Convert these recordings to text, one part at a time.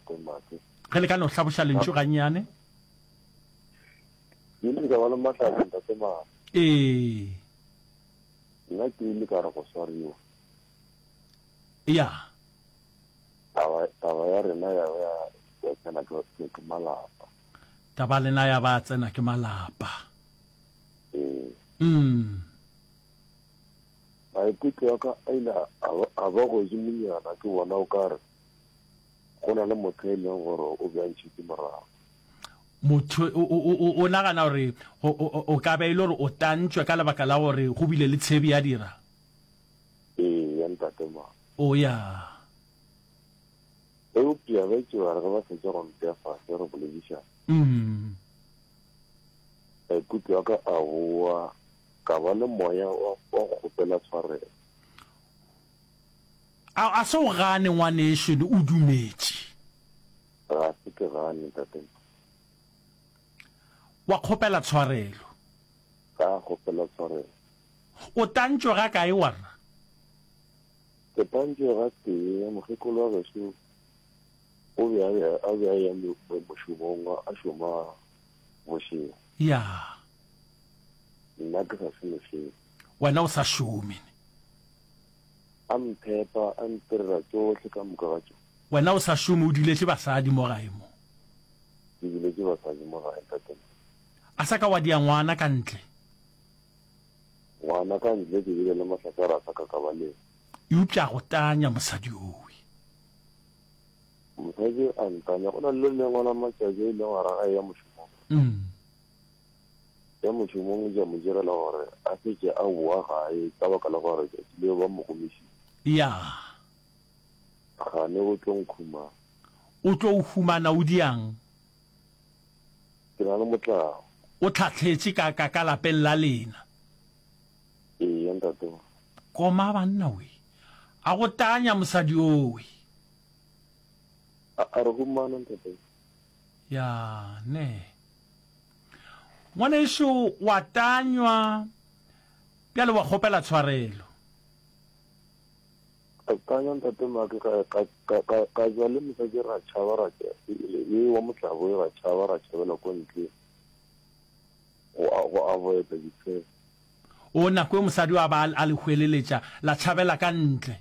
Ntate Make. Ge le ka no hlaboša lentšu gannyane. Ke ile ka ba le mahlatse Ntate Make. Ee. Nna ke ile ka re go swariwa. Ya. Taba, taba ya rena ya ba ya tsena ke, ke, ke malapa. Taba lena ya ba tsena ke malapa. Ee. Mm. Maikutlo a ka a ile a ba, a ba godimonyana ke bona o ka re go na le motho e leng gore o be a ntšhetše morago. Motho o, o, o, o nagana gore o, o, o ka be e le gore o tantšwe ka lebaka la gore go bile le tshebi ya dira? Ee, ya ntate ma. O ya. Eupša ba itše ba re ge ba fetša go mpea fase re boledišana. Mm. Maikutlo a ka a boa, ka ba le moya wa, wa go kgopela tshwarelo. A, a se o gane ngwanešu, o dumetše. Ga se ke gane, ntate. Wa kgopela tshwarelo. Ka kgopela tshwarelo. O tantšwe ga kae warra? Ke tantšwe ga tee, mokgekolo wa gešo o be a a be a ya mošomong a šoma bošego. Ya. Nna ke sa šome selo. Wena o sa šome. A mphepa, a ntirela tšohle ka moka ga tšona. Wena o sa šome o duletše basadi mo gae mo. Ke duletše basadi mo gae ntate. A sa ka wa dia ngwana ka ntle. Ngwana ka ntle ke bile le mahlasara a sa ka ka ba le. Eupša a go tanya mosadi owe. Mosadi a ntanya. Go na le le lengwe la matšatši a ilego a ra a eya mošomong. Ya mošomong ja mo direla gore a fetše a boa gae ka baka la gore tšatši leo ba mo gomišitše. Ya. Gane o tlo nkhumana. O tlo o humana o diang? Ke na le motlabo. O tlhahletše ka, ka, ka lapeng la lena. Eya, ntate. Koma banna we. A go tanya mosadi owe. A, a re humana, ntate. Ya, ne. Ngwanešu, wa tanywa, bjale wa kgopela tshwarelo. Ka tanya ntate Maki ka, ka, ka, ka, ka ja le mosadi ra tšhaba ra tša, e wa motlabo ra tšhaba ra tšhabela ko ntle go, go avoida ditshelo. O, nako e mosadi a ba a le hweleletša, la tšhabela ka ntle.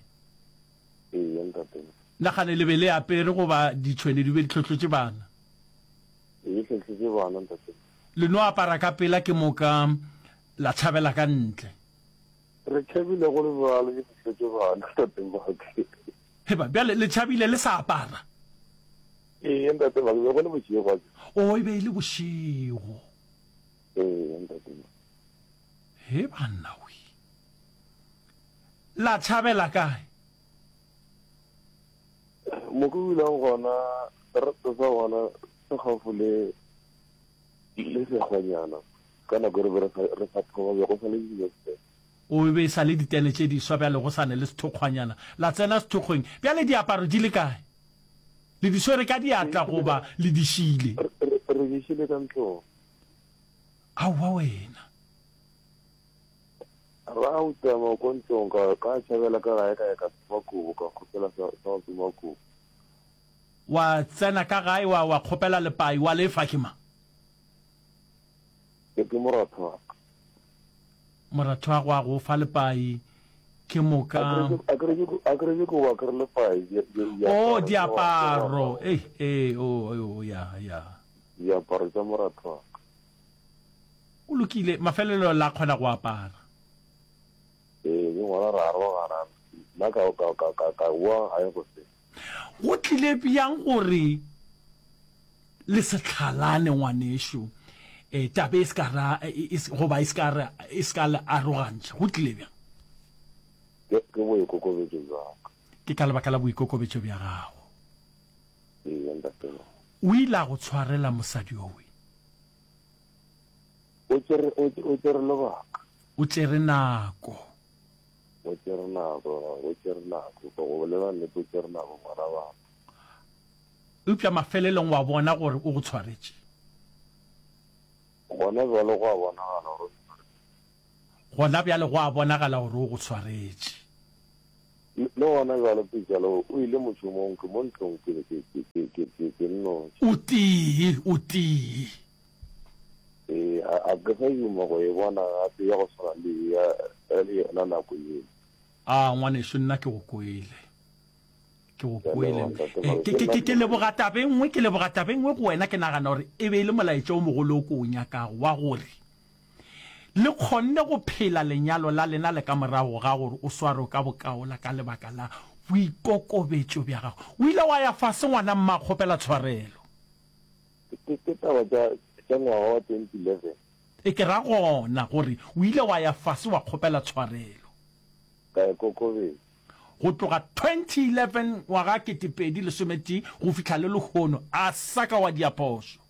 Eya ntate. Nagane le be le apere goba ditšhwene di be di hlohlotše bana? Di hlohlotše bana ntate. Le no apara ka pela ke moka la tšhabela ka ntle. Re tšhabile go le bjalo ke fihletse bana ntate Maki. Heba, bjale le tšhabile le sa apara? Ee ntate Maki, be go le bošego a ke. O, e be e le bošego. Ee ntate Maki. He banna we. La tšhabela kae? Mo ke dulang gona, seterata sa gona se gaufi le le sekgwanyana. Ka nako e re be re sa, re sa thoma, be go sa le dilo tse. O, e be e sa le ditene tše diswa bjale, go sa ne le sethokgwanyana. La tsena sethokgweng. Bjale diaparo di le kae? Le di swere ka diatla goba le di šile? Re, re, re di šile ka ntlong. Aowa wena. Ra utama ko ntlong, ka, ka tšhabela ka gae ka ya ka tsoma kobo, ka kgopela sa, sa go tsoma kobo. Wa tsena ka gae wa, wa kgopela lepai, wa lefa ke mang? Ke, ke moratho wa ka. Moratho wa go a go fa lepai, ke moka. A ke re ke, a ke re ke kobo, a ke re lepai, di, di, Oh, diaparo tša go, tša go diaparo, apara. ei, ee, oh, oh, ya, ya. Diaparo tša moratho wa ka. Go lokile, mafelelo la kgona go apara. Ee, ke gona ra arogana, nna ka, ka, ka, ka, ka boa gae goseng. Go tlile bjang gore le se hlalane, ngwanešu? E, taba e se ka ra, e, e, goba e se ka re, e se ka le arogantšha. Go tlile bjang? Ke, ke boikokobetšo bja ka. Ke ka lebaka la boikokobetšo bja gago. Ee, ntate. O ile a go tshwarela mosadi yowe. O tšere, o, o tšere lebaka. O tšere nako. O tšere nako, o tšere nako. Go bolela nnete, o tšere nako, ngwana wa ka. Eupša mafelelong wa bona gore o go tshwaretše. Gona bjale go a bonagala gore o ntshwaretše. Gona bjale go a bonagala gore o go tshwaretše. Le gona bjalo Pejalo o ile mošomong, ke mo ntlong ke ke ke ke ke ke ke nnoši. O tee, o tee. Ee, a a ke sa duma go e bona gape ya go swana le ya le yona nako yeo. A, ngwanešu, nna ke go kwele. Ke go kwele. Eh, ke, ke, ke, ke leboga taba e nngwe, ke leboga taba e nngwe go wena, ke nagana gore e be e le molaetša o mogolo o ke o nyakago, wa gore Le kgonne go phela lenyalo la lena le ka morago ga gore o swarwe ka bokaola ka lebaka la boikokobetšo bja gago. O ile wa ya fase ngwana mma kgopela tshwarelo. Ke, ke taba tša, tša ngwaga wa 2011. E ke ra gona gore o ile wa ya fase wa kgopela tshwarelo. Ka ikokobetša. Go tloga 2011 ngwaga 2011 go fihla le lehono a sa ka wa dia phošo.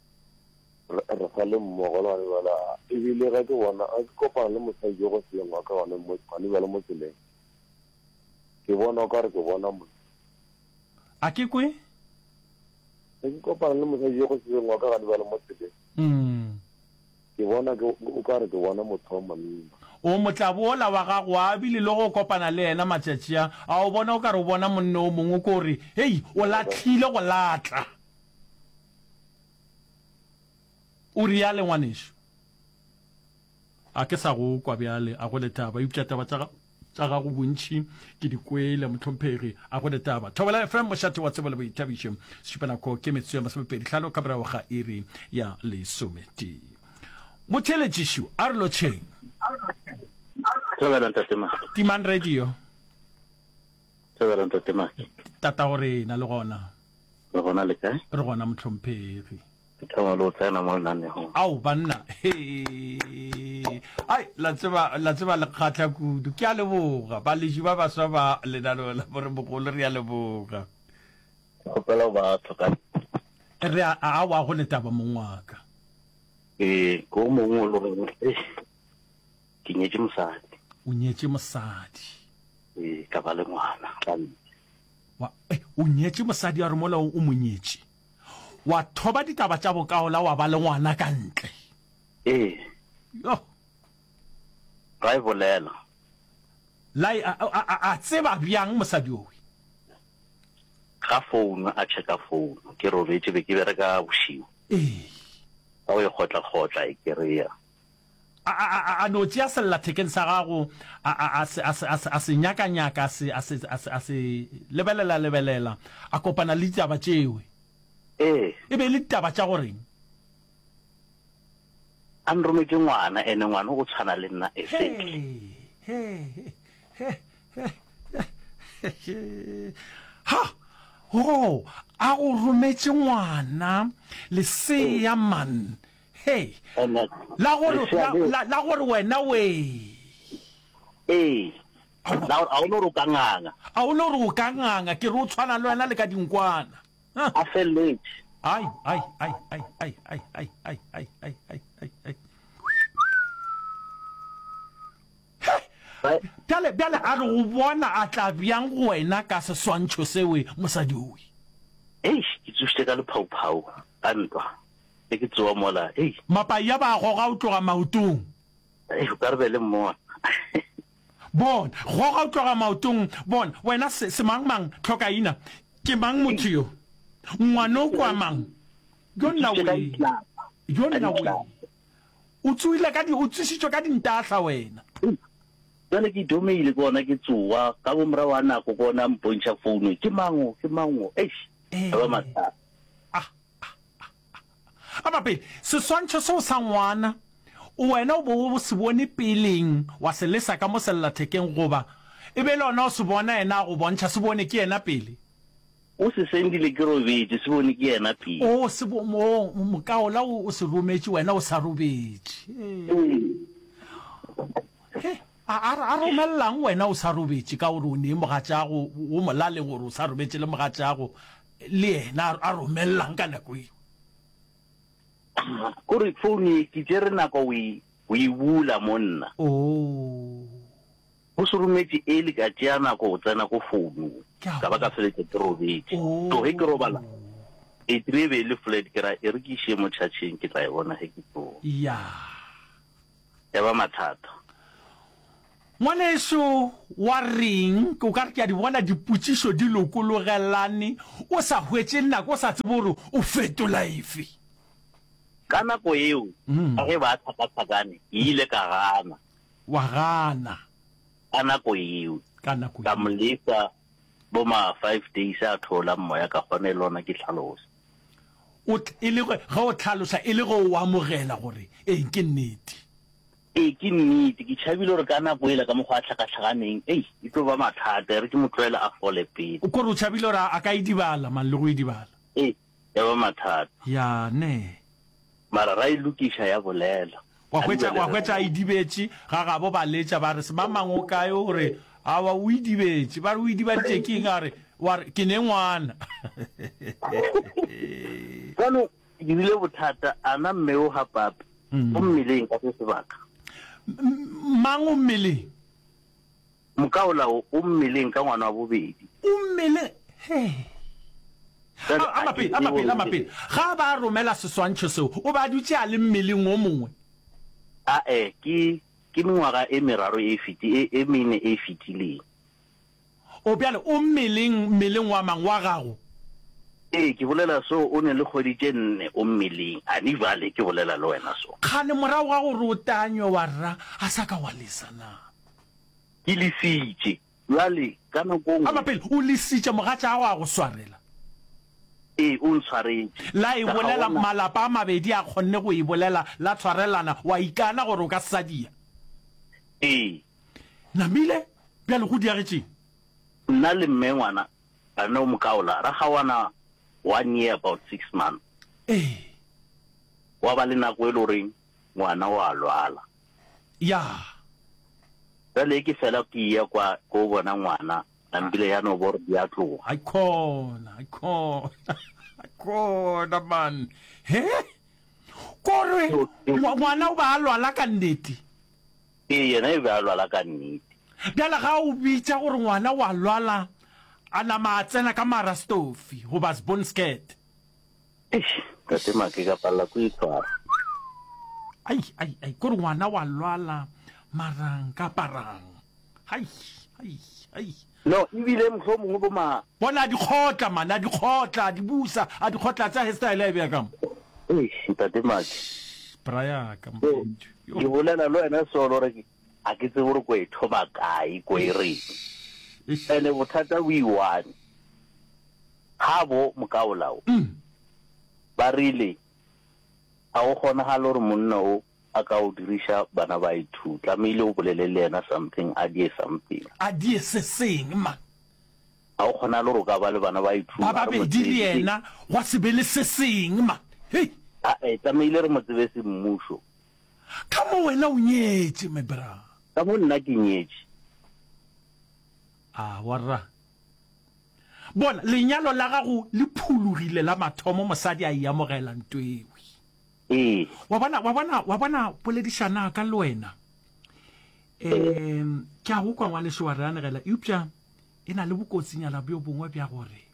Re, re sa le mmogo le gane bjale, a, ebile ge ke bona, ge ke kopana le mosadi yo go seng wa ka gone mo, gane bjale mo tseleng, ke bona o ka re ke bona mo. A ke kwe? Ge ke kopana le mosadi yo go seng wa ka gane bjale mo tseleng, Mm. ke bona ke, o ka re ke bona motho wa monna. O motlabo wola wa gago a bile le go kopana le yena matšatši a, a o bona o ka re o bona monna o mongwe, ko re, Hei, o lahlile go latla. O reale, ngwanešu? A ke sa go kwa bjale, a go le taba. Eupša taba tša, tša gago bontši ke di kwele, mohlomphegi, a go le taba. Thobela FM, mošate wa tsebo le boithabišo. Sešupanako ke metsotso ya masomepedi hlano ka morago ga iri ya lesometee. Motheeletšišu, a re lotšheng. Thobela ntate Maki. Timang radio. Thobela ntate Maki. Tatago rena le gona. Re gona le kae? Re gona mohlomphegi. Ke thoma le go tsena mo lenanegong. Ao banna, he. Ai, la tseba, la tseba le kgahla kudu. Ke a leboga. Baleši ba baswa ba lenaneo la Boremogolo re a leboga. Ke kgopela go ba tlhoka. Re a, aowa go le taba mong wa ka. Ee, ke o mongwe o le goreng, eish, ke nyetše mosadi. O nyetše mosadi. Ee, ka ba le ngwana ka ntle. Wa, eh, o nyetše mosadi a re mola o mo nyetše, wa thoba ditaba tša bokaola wa ba le ngwana ka ntle. Ee. Yo. Ra e bolela. La e, a, a, a, a tseba bjang mosadi owe? Ga founu, a checka founu. Ke robetše, be ke bereka bošego. Ee. Ka go e kgotla-kgotla, e kereya. A, a, a, a no tšea sellathekeng sa gago, a, a, a se, a se, a se, a se nyakanyaka, a se, a se, a se, a se lebelela-lebelela, a kopana le ditaba tšewe. Ee. E be e le ditaba tša go reng? A nrometše ngwana, ene ngwana o tshwana le nna exactly. He, he, he, he, he, he. Ha! Oh, a go rometše ngwana, lesea man. Hei, la gore, la, la, la gore wena wee. Ee, la gore a o no re o ka nganga. A o no re o ka nganga, ke re o tshwana le wena le ka dinkwana. A felletše. Ai, ai, ai, ai, ai, ai, ai, ai, ai, ai, ai, ai, ai. He, bjale, bjale a re go bona a tla bjang go wena ka seswantšho sewe mosadi owe? Eish, ke tsošitše ka lephauphau, ka ntwa. Ge ke tsoa mola, hei. Mapaia ba a goga o tloga maotong. Hei, o ka re be le mmona. Bona, goga o tloga maotong. Bona, wena se, semangmang, tlhokaina. Ke mang motho yo? Ngwano kwa mang? Yo nna wee. Yo nna wee. O tsoile ka di, o tsošitšwe ka dintahla wena. Bjale ke itomile ke gona ke tsoa, ka bo morago ga nako ke gona a mpontšha founu, ke mang o, ke mang o, eish, ya ba mathata. Ah, A mapele, seswantšho seo sa ngwana, o wena o bo o se bone peleng, wa se lesa ka mo sellathekeng, goba e be le ona o se bona yena a go bontšha, se bone ke yena pele? O se sendile ke robetše, se bone ke yena pele. O se bo, mo, mokaola o, o se rometše wena o sa robetše. He, a, a, a romellang wena o sa robetše ka gore o nee mogatšago, o molaleng gore o sa robetše le mogatšago, Le yena a romellang ka nako eo. Kore phone ye ke tšere nako o e o e bula monna. Oh. Go se rometše early ka tšea nako go tsena ko founung. Ka ba ka feletša ke robetše. Oh. So ge ke robala battery e be e le flat ke ra e re ke iše mo chargeng ke tla e bona ge ke tsoga. Yeah. Ya ba mathata. Ngwaneso wa reng o ka re ke a di bona dipotšišo di lokologelane o sa hwetše nako o sa tsebe gore o fetola efe. Ka nako eo ka ge ba hlakahlakane ke ile ka gana. Wa gana. Ka nako eo. Ka nako Ka mo lesa bo ma five days a thola moya ka kgona e le gona ke hlalosa. O e le ge o hlalosa e le ge o amogela gore ee ke nnete. Ee, ke nnete. Ke tšhabile gore ka nako yela ka mokgwa a hlakahlakaneng, ei, e tlo ba mathata. E re ke mo tlohele a fole pele. O kore o tšhabile gore a ka idibala, man, le go idibala. Ee, ya ba mathata. Ya, ne. Mara ra e lokiša ya bolela. Wa hwetša, wa hwetša a idibetše, ga gabo ba letša ba re, Semang-mang o kae? O re, Aowa, o idibetše. Ba re, O idibaditše ke eng? A re, wa re, Ke ne ngwana. Jaanong Ke dirile bothata, a na mme o ga papi o mmeleng ka se sebaka? Mang o mmeleng? Mokaola o, o mmeleng ka ngwana wa bobedi. O mmeleng, hee. A, ama pele, ama pele, ama pele. Ga a ba a romela seswantšho seo, o be a dutše a le mmeleng o mongwe? A-e, ke, ke mengwaga e meraro e feti, e, e mene e fetileng. O bjale o mmeleng, mmeleng wa mang? Wa gago? Ee, ke bolela so, o ne le kgwedi tše nne o mmeleng, ani bjale ke bolela le wena so. Kgane morago ga gore o tanywe wa rra, a sa ka wa lesa na? Ke lesitše. Bjale, ka nako nngwe. Ama pele, o lesitše, mogatšago a go swarela? Ee, o ntshwaretše. La e bolela, malapa a mabedi a kgonne go e bolela, la tshwarelana, wa ikana gore o ka se sa dia? Ee. Namile, Bjale go diagetšeng? Nna le mme ngwana re no mo kaola, ra kgaoana one year about six months. Ee. Gwa ba le nako e le goreng ngwana o a lwala. Ya. Bjale ke fela ke eya kwa ko bona ngwana, nampile ya no bo re di a tloga. Haikhona, haikhona, haikhona man. He? Kore ngwana o ba a lwala ka nnete? Ee, yena e be a lwala ka nnete. Bjale ga o bitša gore ngwana o a lwala, a nama a tsena ka marastofi goba sbonskirt. Eish, Tate Make, ka palela ko itshwara. Ai, ai, ai, kore ngwana wa lwala, mara nka aparang? Hai, hai, hai. No, ebile mohlomongwe bo ma. Bona a di kgotla, man, a di kgotla, a di busa, a di kgotla, tsa hairstyle a e bea ka mo. Eish, Ntate Make. Bra ya ka, mfethu. Yo. Ke bolela le wena solo gore a ke tsebe gore ko e thoma kae, ko e reng. Eish. Ene bothata bo i-one. Ga bo mokaolao. Ba rile, a go kgonagale gore monna o a ka o diriša bana ba ithu tlamehile o bolele le yena something a die something. A die se seng man. Ga o kgonagale gore o ka ba le bana ba ithu Ba babedi le yena gwa se be le se seng man. Hei. Ae tlamehile re mo tsebe semmušo. Ka mo wena o nyetše my bra. Ka mo nna ke nyetše. A warra. Bona lenyalo la gago le phulugile la mathomo mosadi a e amogela ntwewi. Ee. Wa bona, wa bona, wa bona, poledišana ka le wena. Um, ke a go kwa ngwaneso wa re anegela, eupša e na le bokotsinyana bjo bongwe bja gore,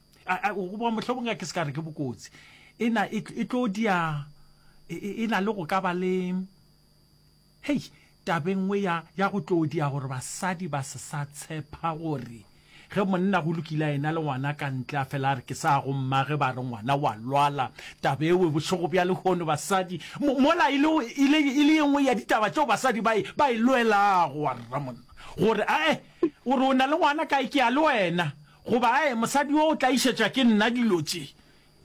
goba mohlomongwe ke se ka re ke bokotsi, e na, e, e tlo dia, e, e, e na le go ka ba le, Hei, taba e nngwe ya, ya go tlo dia gore basadi ba se sa tshepa gore ge monna go lokile a ena le ngwana ka ntle a fela a re ke sa go mmage ba re ngwana wa lwala. Taba ewe bošego bja lehono basadi, mo, mola e le, e le, e le ye nngwe ya ditaba tšeo basadi ba e, ba e lwelago, warra monna, gore ae, o re o na le ngwana kae ke ya le wena, goba ae, mosadi yo o tlaišetša ke nna dilo tše.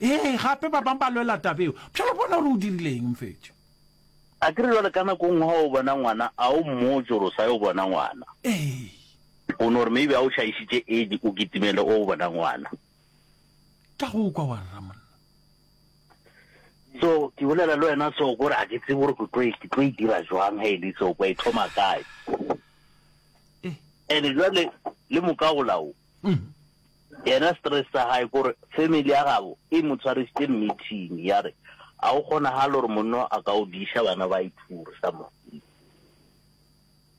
Ee, gape ba bang ba lwela taba eo. Bjale bona gore o dirile eng, mfethu. A ke re jwale ka nako nngwe ga o bona ngwana a o mmotse gore o sa yo bona ngwana. Ee. O no re maybe a o šaišitše age o kitimele o bona ngwana. Ka go kwa wa rra monna. So ke bolela le wena so gore a ke tsebe gore ke tlo e, ke tlo e dira jwang ge e le so kwa e thoma kae. Eh. And jwale le mokaola o. Yena stress sa hae kore family ya gabo e mo tshwarisitse meeting ya re a go kgonagale gore monna a ka o diša bana ba ithure sa mo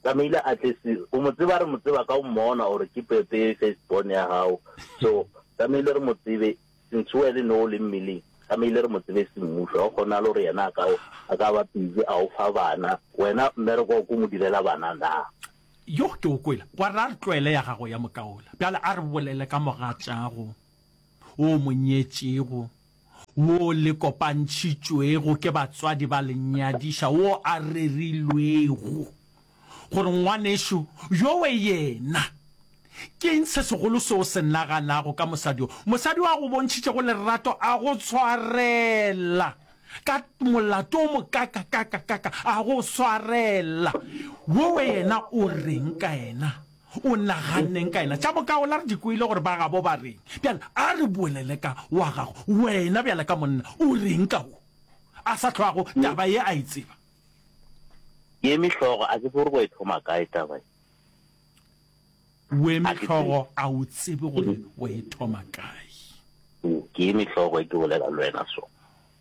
tlamehile a tle se o mo tseba re mo tseba ka o mmona gore ke pepe first born ya gago so tlamehile re mo tsebe since o le no le mmeleng tlamehile re mo tsebe semmušo ga go kgonagale gore yena a ka a ka ba busy a o fa bana wena mmereko wa ko mo direla bana na. Yo ke o kwele. Gwa re a re tlwaele ya gago ya mokaola. Bjale a re bolele ka mogatšago wo o mo nyetšego, wo le kopantšhitšwego ke batswadi ba le nyadiša, wo a rerilwego gore ngwanešo yowe yena. Ke eng se segolo se o se naganago ka mosadi yo? Mosadi yo a go bontšhitšego lerato, a go tshwarela ka molato o mokakakakakaka, a go swarela. Wowe yena o reng ka yena? O naganneng ka yena? Tša bokaola re di kwele gore ba gabo ba reng. Bjale a re bolele ka wa gago. Wena bjale ka monna, o reng ka wo a sa hlwago taba ye a e tseba? Ke eme hlogo, a ke tsebe gore go e thoma kae taba ye. O eme hlogo, a o tsebe gore o e thoma kae. Ke eme hlogo e ke bolela le wena so.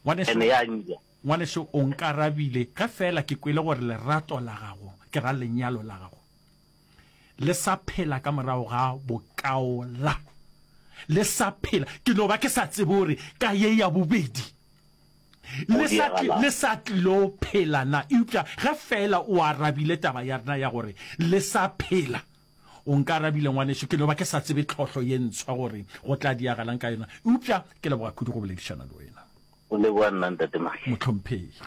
Ngwaneso, Ene ya nja. Ngwaneso, o nkarabile ge feela ke kwele gore lerato la gago, ke ra lenyalo la gago, le sa phela ka morago ga bokaola. Le sa phela. Ke no ba ke sa tsebe gore ka ye ya bobedi le sa, le sa tlilo phela na. Eupša ge feela o arabile taba ya rena ya gore le sa phela, o nkarabile ngwaneso, ke no ba ke sa tsebe tlhohlo ye ntshwa gore go tla diagalang ka yona. Eupša ke leboga kudu go boledišana le wena. O leboga nna, Ntate Make. Mohlomphegi.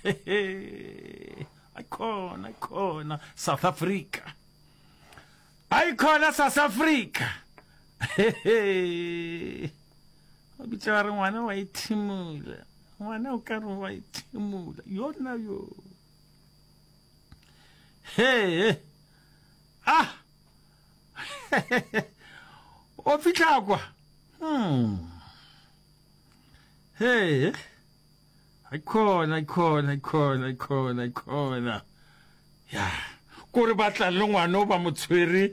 Hehe. Aikhona, aikhona, South Africa. Aikhona, South Africa. Hehe. Ba bitša ba re ngwana wa ithimola. Ngwana o ka re wa ithimola. Yona yo. He. Ah. O fihla kwa. Hmm. He. Aikhona, aikhona, aikhona, aikhona, aikhona. Ya. Kore ba tla le ngwana o ba mo tshwere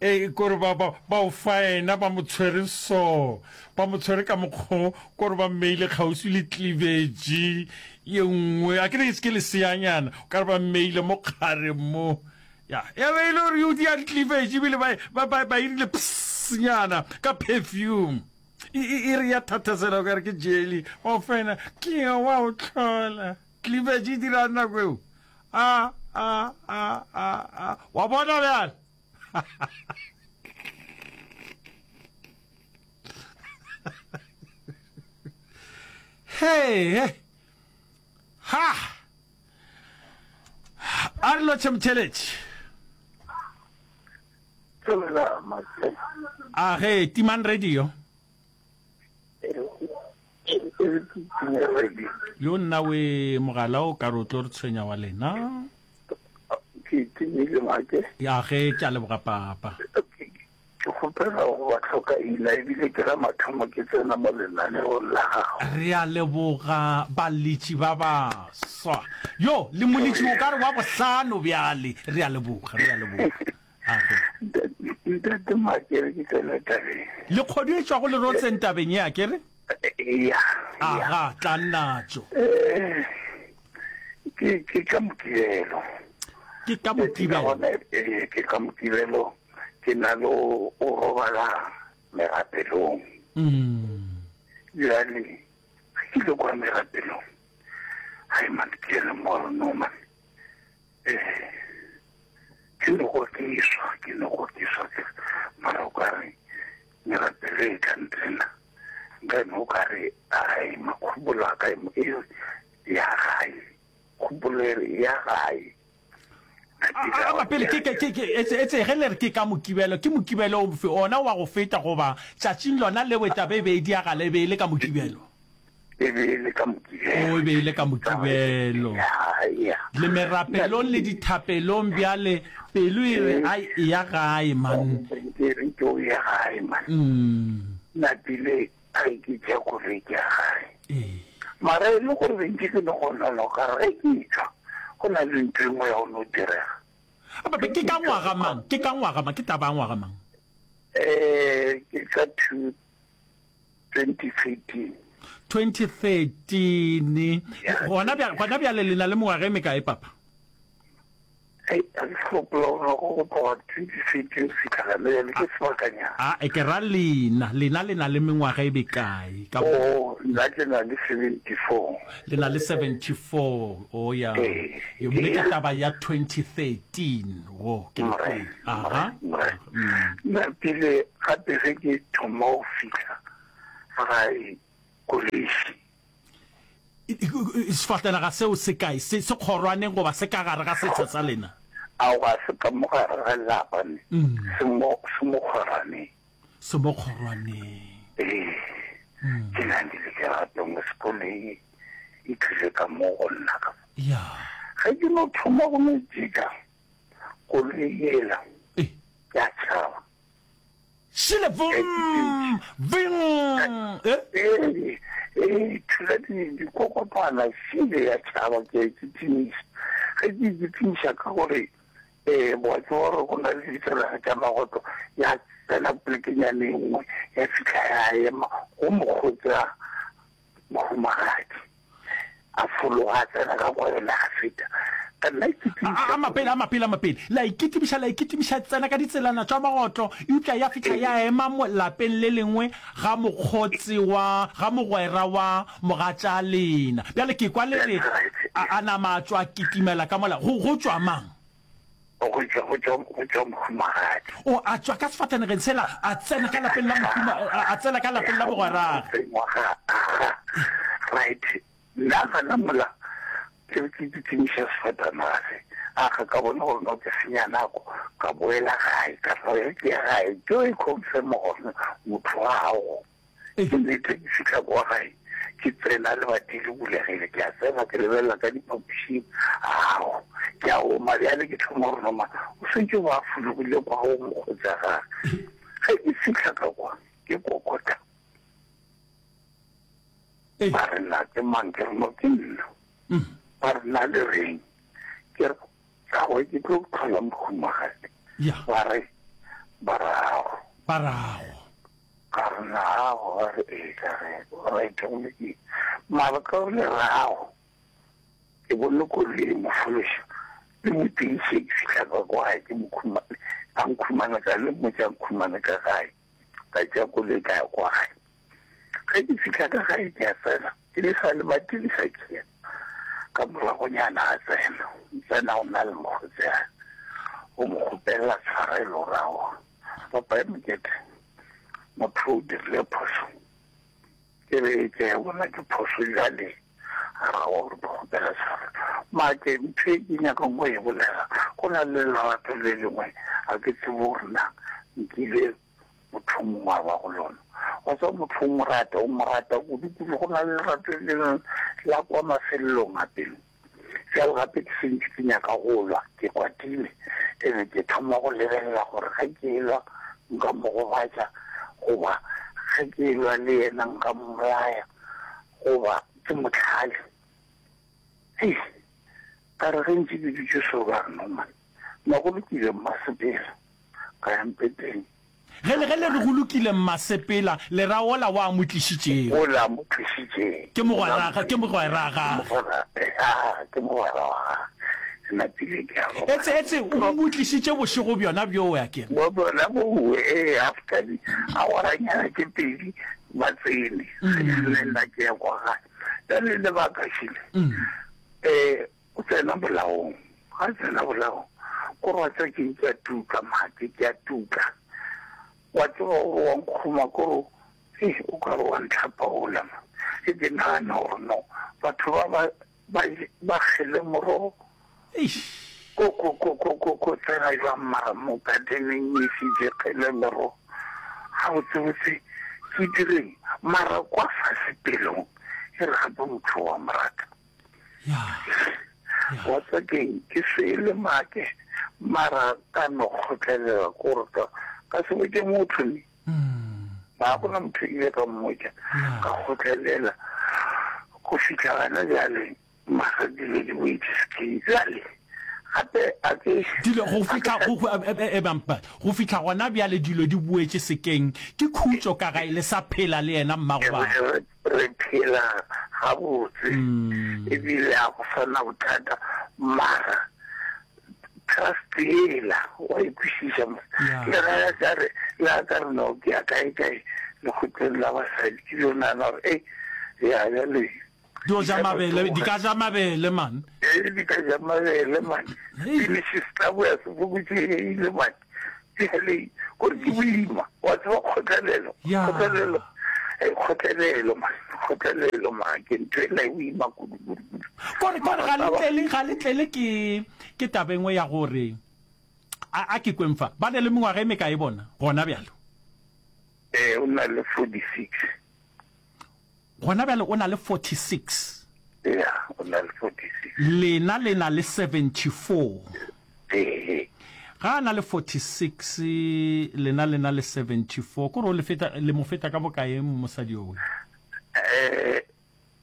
e kore ba ba ba o faena ba mo tshwere so ba mo tshwere ka mokgo kore ba mmeile kgauswi le cleavage ye nngwe a ke re ke leseanyana o ka re ba mmeile mo kgareng mo ya ya be e le gore yo di ya cleavage ebile ba ba ba ba irile psnyana ka perfume e e re ya thathasela o ka re ke jelly wa o faena ke wa o tlhola Cleavage e dirang nako eo? A, a, a, a, a. Wa bona bjale? Hey, ha! A re lotšhe motheletši. A ge, timang radio. Yo nna we mogala o ka re o tlo re tshwenya wa lena. Ke timile make. Ya ge ke a leboga papa. Ke kgopela go ba hloka ina ebile ke la mathomo ke tsena mo lenaneong la gago. Re a leboga baletši ba baswa. Yo le moletši o ka re wa bohlano bjale. Re a leboga, re a leboga. Ntate Makere ke tsena tabeng. Le kgodu e tšwago lerotseng tabeng ye, a ke re? Eya. Aga, tla natšo. Eh, ke ke ka Mokibelo. Ke ka Mokibelo. Eh, ke ka Mokibelo ke na le o robala merapelong. Mm. Bjale, ke ile kwa merapelong. Hai man, ke re mo no man. Eh, ke no go tiswa, ke no go tiswa ke mara o ka re merapelo e tla ntsena nka no ka re ai makgobolo a ka e ya gae kgopolo e re ya gae Aba pele ke ke ke etse etse ge le re ke ka mokibelo ke mokibelo ofe ona wa go feta goba tšatšing lona leo taba e be e diagala e be e le ka mokibelo E be e le ka Mokibelo. O, e be e le ka Mokibelo. Ya, ya. Le merapelong le dithapelong bjale, pelo e re, Ai, eya gae, man. Ke re ke o ye gae, man. Mm. Napile, ai, ke tšea koloi ke ya gae. Ee. Mara e le gore be ntše ke no go nona, o ka re ge ke tšwa, go na le ntho e nngwe ya go no direga. Ababe, ke ka ngwaga mang? Ke ka ngwaga mang? Ke taba ya ngwaga mang? Eh, ke ka two 2013. 2013. Gona bjale, gona bjale le na le mengwaga e mekae, papa? Hei, a ke sa gopola gore go go tloga 2013 go fihla gana bjale ke sebakanyana. A e ke ra lena, lena le na le mengwaga e bekae ka bo? Oh, nna ke na le 74. Le na le 74, oh ya. Ee, Mme ke ee. taba ya 2013, wo ke le Morena, kwele. Aha. morena, morena. Mm. Nna pele gape ge ke thoma go fihla gae kolesi. Sefatanaga seo se kae? Se, se kgorwaneng goba se ka gare ga setsha sa lena? Ao, ga se ka mo gare ga lapa, ne. Se mo, se mo kgorwaneng. Se mo kgorwaneng. Ee. Ke na le lerato mo sekolong, e tlile ka mo go nna ka mo. Ya. Ge ke no thoma go no jika, koloi yela Ee. ya tšhaba. Šele vum, vum, eh? Ee, ee, thula di, dikokotwana, šele ya tšhaba, ke a ikitimiša. Ge ke ikitimiša ka gore, ee, wa tseba gore go na le ditselana tša magotlo, ya tsena polekenyana e nngwe, ya fihla ya ema go mokgotsi wa mohumagadi. A fologa a tsena ka kwa yona a feta. Ka nna A, a mapele, a mapele, a mapele. La ikitimiša, la ikitimiša, tsena ka ditselana tša magotlo, eupša ya fihla ya ema mo lapeng le lengwe ga mokgotsi wa, ga mogwera wa mogatša lena. Bjale ke kwa le re, a, a nama a tšwa a kitimela ka mola. Go, go tšwa mang? Go tšwa, go tšwa, go tšwa mohumagadi. O, a tšwa ka sefatanegeng sela, a tsena ka lapeng la mohuma, a, a tsena ka lapeng la mogweragwe. Ngwaga, aga, right. Nna gana mola, ke be ke kitimiša sefatanaga se, aga, ka bona gore no ke senya nako, ka boela gae, ka re ge ke ya gae, ke yo e confirm gore motho wa gago. Ke nnete, ke fihla kwa gae, ke tsena lebati le bulegile, ke a tsena, ke lebelela ka diphapošing, ao, ke a oma bjale, ke thoma gore noma o sentše o ba a fologile kwa go mokgotsi wa gage. Ge ke fihla ka kwa, ke kokota, ba re na ke mang, ke re no ke nna, ba re na le reng, ke re Gagwe ke tlo tlhola mohumagadi. Ya. Ba re, Barago. Barago. Ka re, Nago? Ba re, Ee. Ka re, Right, go lokile. Mara ka gore lerago, ke bone koloi e mo fološa, le mo tiiše, ke fihla ka kwa gae, ke mo khumane, a nkhumane ka, le mmotša a nkhumane ka gae. Ka tšea koloi ka ya kwa gae. Ge ke fihla ka gae ke a tsena, ke le sa lebati le sa khiya. Ka moragonyana a tsena, tsena o na le mokgotsi a o mo kgopelela tshwarelo gore aowa papa ya mokete motho o dirile phoso. Ke re ke ya bona ke phoso jale a ra gore ke kgopela tshwarelo. Make ntho e ke nyakang go e bolela go na le lerato le lengwe a ke tsebe gore na nkile motho o mongwe a ba go lona. Wa tseba motho o mo rata, o mo rata kudu-kudu. Go na le lerato le lengwe la kwa mafelelong a pelo. Bjale gape ke sentše ke nyaka go lwa, ke kwatile, ene ke thoma go lebelela gore ge ke elwa nka mo gobatša, goba ge ke elwa le yena nka mmolaya, goba ke mo hlale. Hei, ka re ge ntše ke dutše so ka re no man, nna go lokile mmasepela. Ka ya mpeteng. Ge le, ge le re go lokile mmasepela, le ra wola wa mo tlišitšego. Wola mo tlišitšeng. Ke mogwera, ke mogwera gagwe. Mogwera, ya, ke mogwera wa gagwe. Napile ke a robala. Etse, etse, o mo tlišitše bošego bjona bjoo, a ke re? Bo bjona bowe, ee, after di awaranyana tše pedi ba tsene. Ge le nna ke ya kwa gae. Bjale lebaka šele, eh, O tsena bolaong. Ga a tsena bolaong, ko re wa tseba keng ke a tuka mate, ke a tuka. Wa tseba gore wa nkgoma ko re hei o ka re wa ntlhapaola ma. Ke ke nagana gore no batho ba ba ba ba kgele morogo. Eish. Ko ko ko ko ko ko tsena jwang mara mo gardeneng e šetše kgele merogo. Gabotsebotse ke direng mara kwa fase pelong e re gape motho wa mo rata. Wa tseba keng, ke sele make, mara ka no kgotlelela kore ka, ka se botše motho ne. Ga gona motho ile ka mmotša, ka kgotlelela go fihla gana bjale, mara dilo di boetše sekeng. Bjale gape a ke Dilo go fihla go, go, e, e, go fihla gona bjale dilo di boetše sekeng, ke khutšo ka gae le sa phela le yena mmago bana. Re phela gabotse ebile ga go sa na bothata, mara. Trust yela, wa e kwešiša mos. Le ge a ka re, le a ka re no ke ya kae kae lekgotleng la basadi, ke dio nagana gore ei, ya bjale. Dio ja mabele, di ka ja mabele man. Ee, di ka ja mabele man. Pele se tla boya se fokotšegile man. Bjale, kore ke boima, wa tseba kgotlelelo, kgotlelelo, kgotlelelo man, kgotlelelo man, ke ntho ela e boima kudu kudu kudu. Kore, kore ga le tlele, ga le tlele ke, ke taba engwe ya gore, a, a ke kweng fa, ba ne le mengwaga e mekae bona, gona bjalo? Ee, o na le 46. Gona bjale o na le 46. Ya, o na le 46. Lena le na le 74. Ee. Ga a na le 46, lena le na le 74. Kore o le feta, le mo feta ka bokae mosadi yowe? Eh,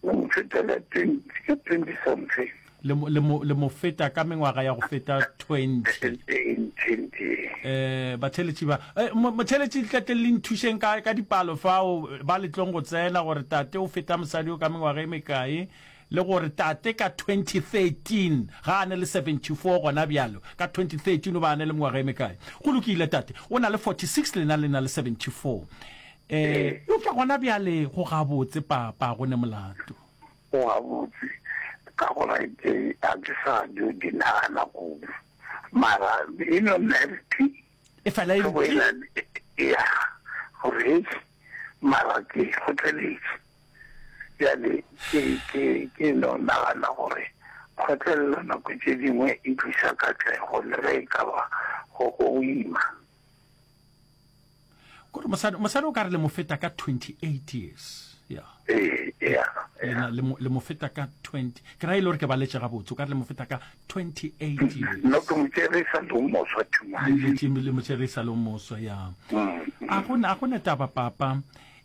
o mo feta ka 20, ka 20 something. Le mo, le mo, le mo feta ka mengwaga ya go feta 20. 20. Eh, batheeletši ba, eh, mo, motheeletši tle le nthušeng ka, ka dipalo fao, ba le tlong go tsena gore tate o feta mosadi yo ka mengwaga e mekae, le gore tate ka 2013 ga a ne le 74 gona bjalo, ka 2013 o ba a ne le mengwaga e mekae. Go lokile tate, o na le 46 lena le na le 74. Eh, eupša gona bjale go gabotse papa, go ne molato. Go gabotse ka gore ke ga ke sa dio di nagana kudu mara e no nna e re tli. E fela e re tli. Ya gore mara ke kgotleletše bjale ke ke ke no nagana gore kgotlelelo nako tše dingwe e tlisa katlego le ge e ka ba go go ima. Kore mosadi mosadi o ka re le mo feta ka 28 years. Ya. Ee, ya. Lena le mo le mo feta ka 20. Ke ra e le gore ke baletše gabotse, o ka re le mo feta ka 28 years. No ke mo tšere sa le moswa too much. Le le le mo tšere sa le moswa ya. Mm. A go a go ne taba papa.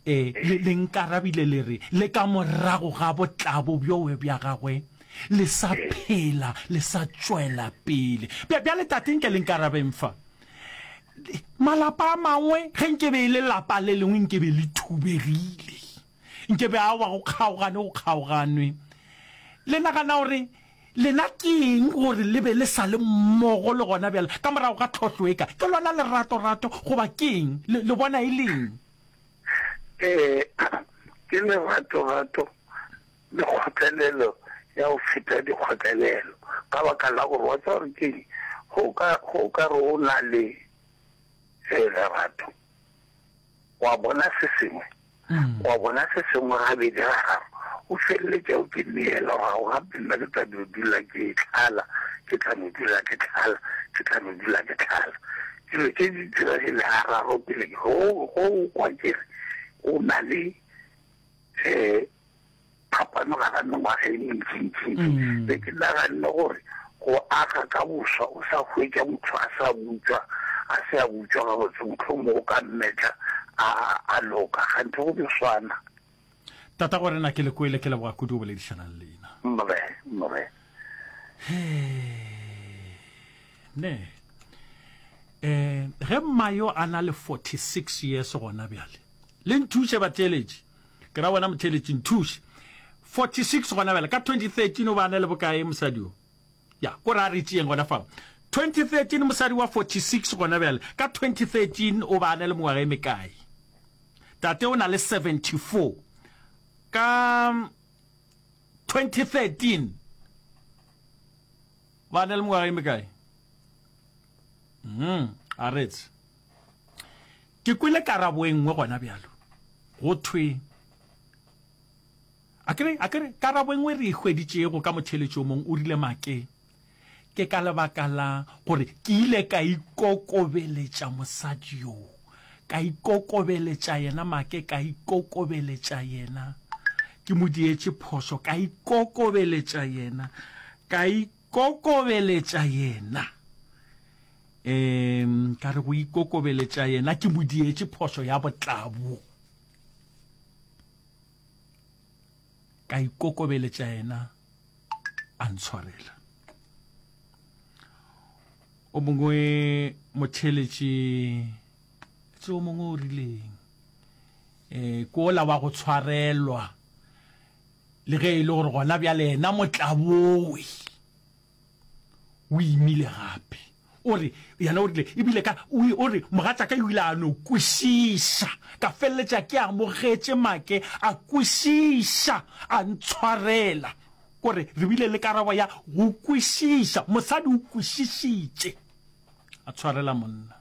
Eh le le nkarabile le re le ka morago ga botlabo bjowe bja gagwe le sa phela le sa tšwela pele. Bjale tate nke le nkarabeng fa. Malapa a mangwe, ge nke be e le lapa le lengwe nke be le thubegile. Nke be aowa go kgaogane go kgaoganwe. Le nagana gore lena ke eng gore le be le sa le mmogo le gona bjale ka morago ga tlhohlo e ka? Ke lona leratorato goba ke eng? Le, le bona e le eng? Ee, ke leratorato le kgotlelelo ya go feta dikgotlelelo, ka baka la gore wa tseba gore keng, ge o ka, ge o ka re o na le lerato, wa bona se sengwe, wa bona se sengwe gabedi gararo, o feleletša o ke neela gore ao gape nna ke tla no dula ke tlala, ke tla no dula ke tlala, ke tla no dula ke tlala. Dilo tše di diregile gararo pele ge o, ge o kwa ke re o na le um phapano gara mengwaga e mentšintšintši. Mm. Be ke naganne gore go aga ka boswa o sa hwetša motho a sa butšwa, a se a butšwa gabotse, mohlomongwe o ka mmetla a, a loka, kganthe go dio swana. Tata go rena ke le kwele, ke leboga kudu go boledišana le lena. Mre, mre. Ne. Eh, ge mma yo a na le 46 years gona bjale. Le nthuše batheeletši. Ke ra wena motheeletši, nthuše. 46 gona bjale, ka 2013 o ba a na le bokae mosadi yo? Ya, ko re a re tšeeng gona fao. 2013 mosadi wa 46 gona bjale, ka 2013 o ba a na le mengwaga e mekae? Tate o na le 74. Ka 2013 ba na le mengwaga e mekae? Mm, a retse. Ke kwele karabo e nngwe gona bjalo. Go thwe, A ke re, a ke re, karabo e nngwe re e hweditšego ka motheeletši o mongwe, o rile, Make, ke ka lebaka la gore ke ile ka ikokobeletša mosadi yo. Ka ikokobeletša yena, Make, ka ikokobeletša yena. Ke mo dietše phošo, ka ikokobeletša yena. Ka ikokobeletša yena. Um ka re go ikokobeletša yena ke mo dietše phošo ya botlabo. Ka ikokobeletša yena a ntshwarela. O mongwe motheeletši tse o mongwe o rileng um ke ola wa go tshwarelwa le ge e le gore gona bjale yena motlabowe o imile gape. O re, Yena o rile, ebile ka, o, o re, mogatšaka o ile a no kwešiša. Ka feleletša ke amogetše make, a kwešiša, a ntshwarela. Kore re bile le karabo ya go kwešiša. Mosadi o kwešišitše, a tshwarela monna.